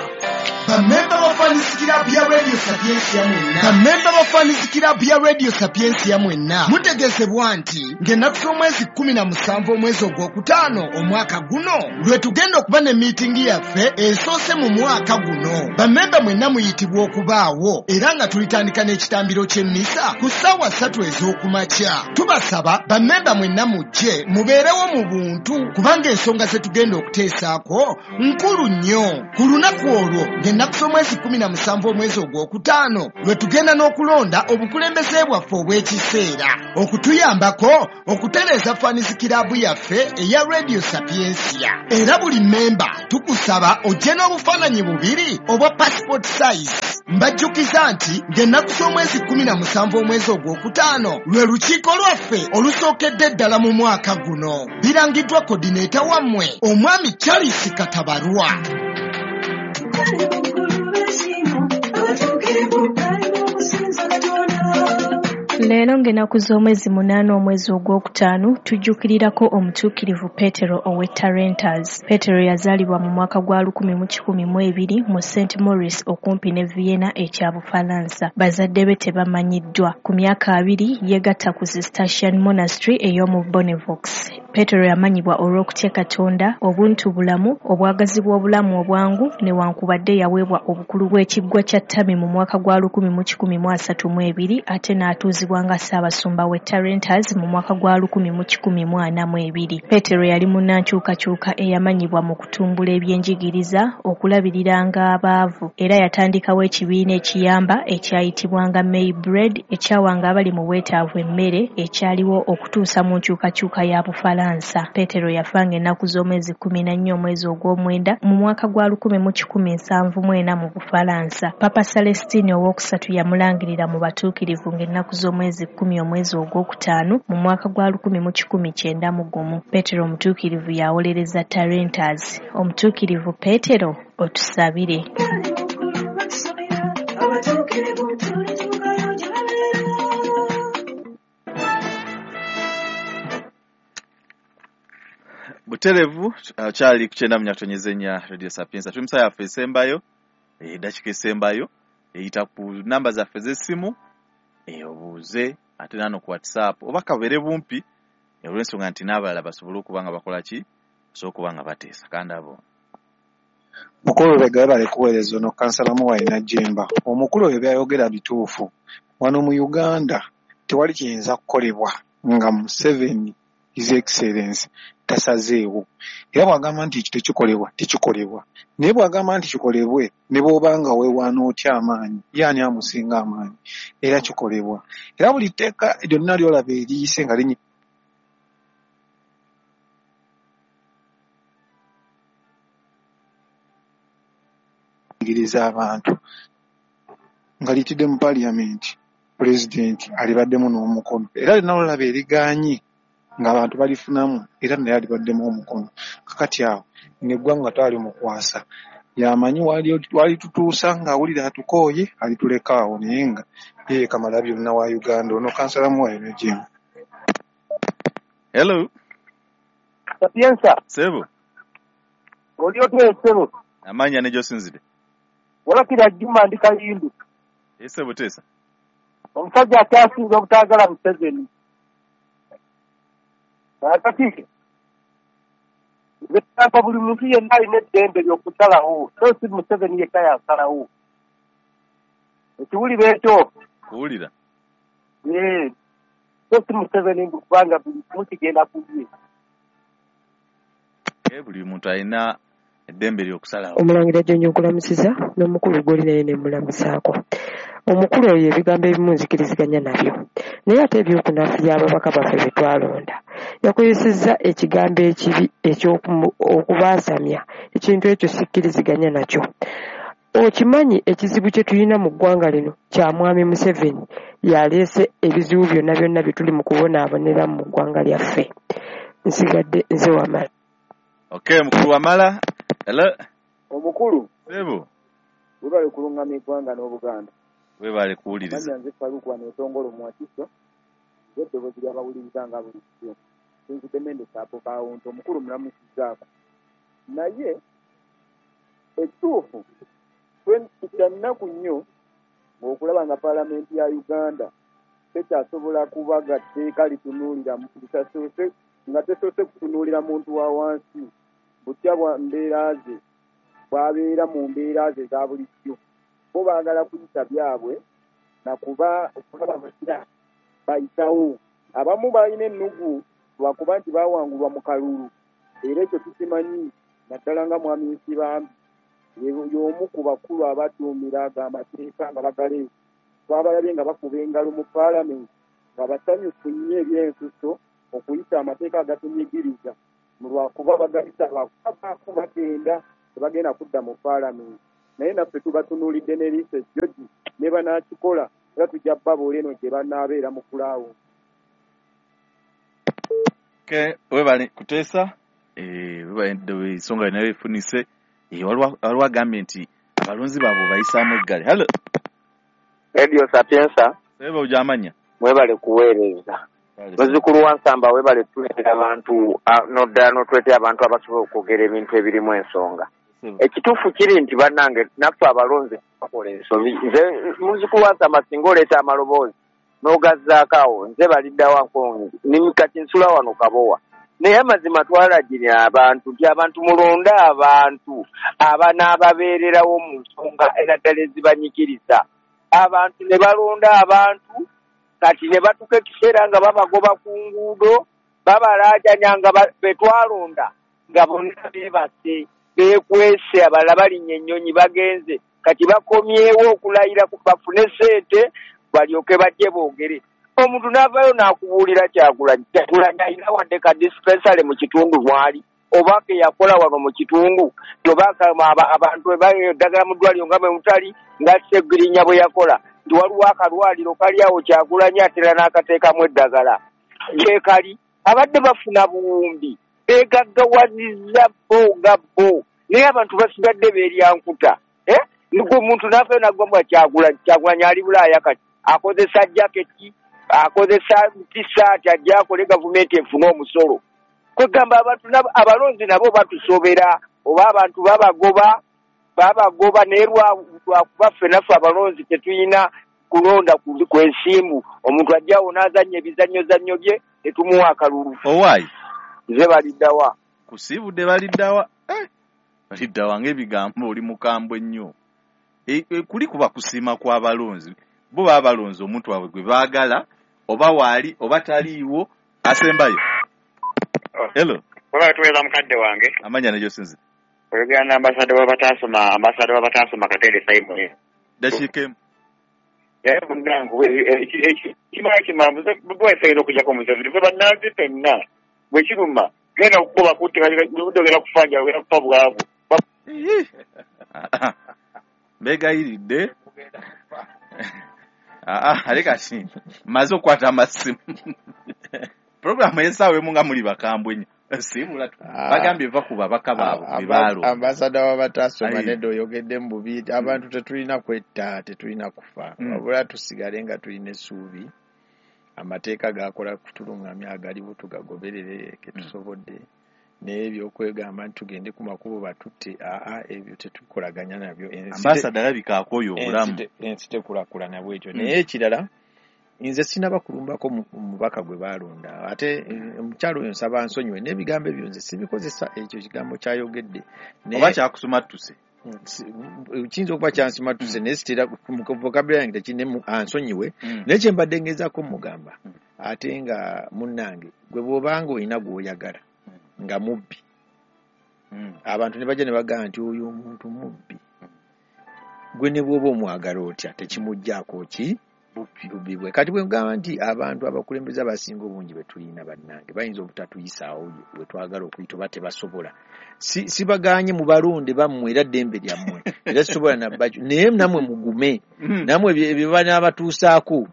Speaker 4: Bamemba ba Fans Club ya Radio Sapientia mwenna, bammemba ba Fans Club ya Radio Sapientia mwenna mutegeezebwa nti ng'ennaku z'omwezi 17 omwezi ogwokutaano omwaka guno lwe tugenda okuba ne miitingi yaffe esoose mu mwaka guno. Bammemba mwenna muyitibwa okubaawo era nga tulitandika n'ekitambiro ky'emmisa ku ssaawa 3 ez'okumakya. Tubasaba bammemba mwenna mujje mubeerewo mu buntu kubanga ensonga ze tugenda okuteesaako nkulu nnyo. Ku lunaku olwo ng'ennaku z'omwezi 17 omwezi ogwokutaano lwe tugenda n'okulonda obukulembeze bwaffe obw'ekiseera okutuyambako okutereeza Fans Club yaffe eya Radio Sapientia. Era buli mmemba tukusaba ojje n'obufaananyi bubiri obwa passport size. Mbajjukiza nti ng'ennaku z'omwezi 17 omwezi ogwokutaano lwe lukiiko lwaffe olusookedde ddala mu mwaka guno. Birangiddwa coordinator wammwe omwami Charles Katabarwa.
Speaker 7: Leero ng'ennaku z'omwezi 8 omwezi ogwokutaano tujjukirirako omutuukirivu Petero ow'e Tarentas. Petero yazaalibwa mu mwaka gwa 1102 mu St. Maurice okumpi ne Vienna ekya Bufalansa. Bazadde be tebamanyiddwa. Ku myaka 2 yeegatta ku Cistercian Monastery ey'omu Bonnevaux. Petero yamanyibwa olw'okutya Katonda, obuntu bulamu, obwagazi bw'obulamu obwangu newankubadde yaweebwa obukulu bw'ekiggwa kya Ttami mu mwaka gwa 1132 ate n'atuuzibwa nga Ssaabasumba w'e Tarentas mu mwaka gwa 1142. Petero yali munnankyukakyuka eyamanyibwa mu kutumbula ebyenjigiriza, okulabiriranga abaavu, era yatandikawo ekibiina ekiyamba ekyayitibwanga May Bread ekyawanga abali mu bwetaavu emmere ekyaliwo okutuusa mu nkyukakyuka ya Bufalansa. Petero yafa ng'ennaku z'omwezi 14 omwezi ogw'omwenda mu mwaka gwa 1174 mu Bufalansa. Papa Celestine owokusatu yamulangirira mu batuukirivu ng'ennaku z'omwezi 10 omwezi ogwokutaano mu mwaka gwa 1191. Petero omutuukirivu yawolereza Tarentas. Omutuukirivu Petero, otusabire.
Speaker 1: Buterevu kyali ku 94.4 Radio Sapientia. Tuli musa yaffe esembayo, eddakiika esembayo eyita ku namba zaffe z'essimu, obuuze ate nano ku WhatsApp oba kabeere bumpi olw'ensonga nti n'abalala basobole okuba nga bakola ki, basobole okuba nga bateesa. Kandi abo
Speaker 9: Mukulu Lubega webale kuweereza ono kansala Muwayi Najjemba. Omukulu oyo by'ayogera bituufu. Wano mu Uganda tewali kiyinza kukolebwa nga Museveni His Excellence tasazeewo. Era bw'agamba nti ekyo tekikolebwa, tekikolebwa. Naye bw'agamba nti kikolebwe, ne bw'oba nga weewaana otya amaanyi, ye ani amusinga amaanyi, era kikolebwa. Era buli tteeka lyonna ly'olaba eriyise nga linyigiriza abantu nga liyitidde mu Parliament, Pulezidenti alibaddemu n'omukono. Era lyonna ly'olaba erigaanye ng'abantu balifunamu, era naye alibaddemu omukono. Kakati awo n'eggwanga twalimukwasa, yamanyi walitutuusa ng'awulira atukooye alituleka awo, naye nga ye kamala byonna wa Uganda. Ono kansala Muwayi Najjemba.
Speaker 1: Hello.
Speaker 10: Sapientia.
Speaker 1: Sebo.
Speaker 10: Oli otya ssebo?
Speaker 1: Amanya ne gy'osinzidde.
Speaker 10: Walakira Juma ndi Kayindu.
Speaker 1: Ssebo teesa.
Speaker 10: Omusajja akyasinze obutaagala Museveni. Kakati nze buli muntu yenna alina eddembe ly'okusalawo, so si Museveni yekka yasalawo. Ekiwulira ekyo?
Speaker 1: Kuwulira.
Speaker 10: So si Museveni mbu kubanga buli kimu kigenda ku ye.
Speaker 1: Buli muntu alina eddembe ly'okusalawo.
Speaker 11: Omulangira Jjonjo nkulamusiza n'omukulu gw'oli naye ne mulamusaako. Omukulu oyo ebigambo ebimu nzikiriziganya nabyo, naye ate ebyokunafuya ababaka baffe be twalonda. Yakozesezza ekigambo ekibi eky'okubaasamya, ekintu ekyo sikkiriziganya nakyo. Okimanyi ekizibu kye tulina mu ggwanga lino kya Mwami Museveni, yaleese ebizibu byonna byonna bye tuli mu kubonaaboneramu mu ggwanga lyaffe. Nsigadde nze Wamala.
Speaker 1: Okay, mukulu Wamala. Hello.
Speaker 12: Omukulu.
Speaker 1: Sebo.
Speaker 12: Webale kulungamya eggwanga n'Obuganda.
Speaker 1: Webale kuwuliriza.
Speaker 12: Nze Faruku wano Otongolo mu Wakiso. Eddoboozi ly'abawuliriza nga bulijjo. Nzidde Mende Saapo Kawuntu, omukulu mulamusizzaako. Naye ekituufu Kya nnaku nnyo ng'okulaba nga paalamenti ya Uganda tekyasobola kubaga tteeka litunuulira litasoose nga tesoose kutunuulira muntu wa wansi butya bwa mbeera ze bw'abeera mu mbeera ze eza bulijjo. Bo baagala kuyita byabwe nakuba okulaba batya bayitawo. Abamu balina ennugu lwakuba nti baawangulwa mu kalulu, era ekyo tukimanyi naddala nga Mwami Nsibambi y'omu ku bakulu abaduumira ago amateeka nga bagaleeta. Twabalabye nga bakuba engalo mu paalamenti nga basanyufu nnyo ebyensuso okuyita amateeka agatunyigiriza lwakuba bagayita lwakuba baako bagenda tebagenda kudda mu paalamenti. Naye naffe tubatunuulidde n'eriiso ejjogi ne banaakikola era tujja babuula eno gye banaabeera mu kulaawo.
Speaker 1: Webale kuteesa, webale ensonga yonna efunise. Waliwo agambye nti abalonzi baabwe bayisaamu eggale. Hello.
Speaker 13: Radio Sapienza.
Speaker 1: Sebe ojamanya.
Speaker 13: Webale kuweereza. Muzzukulu wa Nsamba webale tuleetera abantu n'oddala n'otuleetera abantu abasobola okwogera ebintu ebirimu ensonga. Ekituufu kiri nti bannange naffe abalonzi bakola ensobi. Nze muzzukulu wa Nsamba singa oleeta amaloboozi n'ogazzaako awo nze baliddawo nkongi kati nsula wano Kabowa. Naye amazima twalagirira abantu nti abantu mulonde abantu abanaababeererawo mu nsonga era ddala ezibanyigiriza. Abantu ne balonda abantu kati ne batuuka ekiseera nga babagoba ku nguudo babalaajanya nga betwalonda nga bonna beebase beekwese abalala balinnya ennyonyi bagenze kati bakomyewo okulayira bafune ssente balyoke bajje boogere. Omuntu n'avaayo n'akubuulira Kyagulanyi. Kyagulanyi alina wadde ka dispensary mu kitundu mwali oba ke yakola wano mu kitundu oba abantu eddagala mu ddwaliro nga bwe mutali nga Ssegirinya bwe yakola nti waliwo akalwaliro kali awo Kyagulanyi atera n'akateekamu eddagala gyekali. Abadde bafuna buwumbi beegaggawazizza bo nga bo naye abantu basigadde beerya nkuta. Nigwe omuntu n'avaayo n'agamba Kyagulanyi, Kyagulanyi ali Bulaaya kati akozesa jaketi akozesa tisaati ajja akole gavumenti efune omusolo. Kwegamba abantu abalonzi nabo batusobera oba abantu babagoba naye lwakuba ffe naffe abalonzi tetulina kulonda kwensimbu. Omuntu ajjawo n'azannya ebizannyozannyo bye tetumuwa akalulu.
Speaker 1: Owaayi
Speaker 13: nze baliddawa
Speaker 1: kusiibudde baliddawa baliddawa ng'ebigambo oli mukambwe nnyo. Kuli kuba kusiima kw'abalonzi. Bo baba balonzi omuntu waabwe gwe baagala oba waali oba taliiwo asembayo. Hello.
Speaker 14: Webale tuweereza mukadde wange.
Speaker 1: Amanya ne gy'osinze.
Speaker 14: Oyogera n'ambassador w'abataasoma Katende Simon.
Speaker 1: Dakiika emu.
Speaker 14: Naye munnange kimala kimala bwefeera okujjako Museveni ffe bannansi ffenna bwe kiruma genda okukuba kutte ogenda kufa njala ogenda kufa bwavu.
Speaker 1: Mbeegayiridde. Ale kati mmaze okukwata amasimu. Puroguramu ey'essaawa emu nga muli bakambwe nnyo. Siibula bagambye va ku babaka baabwe be baalonda.
Speaker 2: Ambasada w'abataasoma nedda oyogedde mu bubi. Abantu tetulina kwetta, tetulina kufa. Wabula tusigale nga tulina essuubi. Amateeka gakola kutulungamya agaliwo tugagoberere ke tusobodde. Naye ebyokwegamba nti tugende ku makubo batutte ebyo tetukolaganya nabyo.
Speaker 1: Ambasada alabika akooye obulamu.
Speaker 2: Ensi tekulaakulana bwetyo. Naye ekirala nze sinaba kulumbako mubaka gwe baalonda ate omukyalo oyo nsaba nsonyiwe n'ebigambo ebyo nze sibikozesa ekyo kigambo kyayogedde.
Speaker 1: Oba kyakusumattuse.
Speaker 2: Kiyinza okuba kyansumattuse naye sitera vocabulary yange tekine ansonyiwe. Naye kye mbadde ngezaako mugamba ate nga munnange gwe bw'obanga olina gw'oyagala nga mubbi abantu ne bajja ne bagamba nti oyo omuntu mubbi gwe ne bw'oba omwagala otya tekimuggyaako ki bubbi bwe. Kati bwe ngamba nti abantu abakulembeze abasinga obungi be tulina bannange bayinza obutatuyisaawo bwe twagala okuyita oba tebasobola. Sibagaanye mubalonde bammwe era ddembe lyammwe era sisobola nabbakyo naye nammwe mugume nammwe ebyo banaabatuusaako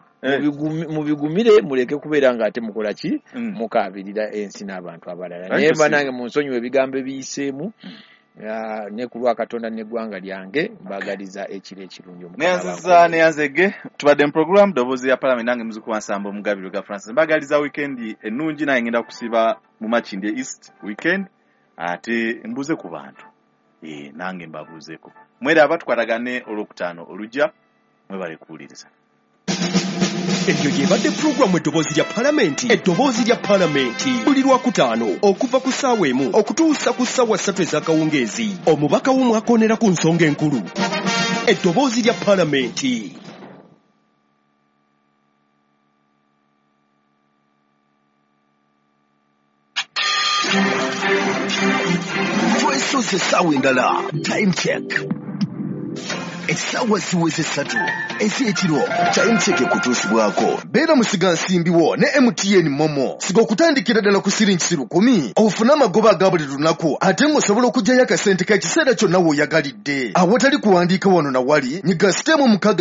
Speaker 2: mubigumire muleke kubeera nga ate mukola ki mukaabirira ensi n'abantu abalala. Naye bannange munsonyiwe ebigambo ebiyiseemu ne ku lwa Katonda n'eggwanga lyange mbagaliza ekiro ekirungi.
Speaker 1: Neyanziza neyanzege tubadde mu program Ddoboozi ya Parliament nange muzzukulu wa Nsamba Omugabirwe ga Francis. Mbagaliza weekend ennungi naye ngenda kusiba mu Makindye East weekend ate mbuze ku bantu nange mbabuuzeeko. Mweraba, tukwatagane olwokutaano olujja. Mwebale kuwuliriza.
Speaker 5: Eyo y'ebadde pulogulaamu Eddoboozi lya Palamenti. Eddoboozi lya Palamenti buli Lwakutaano okuva ku ssaawa 1 okutuusa ku ssaawa 3 ez'akawungeezi. Omubaka w'omwakoonera ku nsonga enkulu. Eddoboozi lya Palamenti.
Speaker 8: Twesoze essaawa endala. Time check. Essaawa ziweze 3 ez'ekiro. Time check ekutuusibwako beera musigansimbi wo ne MTN Momo. Siga okutandikira ddala ku siringi 1,000 ofune amagoba aga buli lunaku, ate ng'osobola okuggyayo akasente k'ekiseera kyonna w'oyagalidde awatali kuwandiika wano na wali. Nyiga sitemu 6.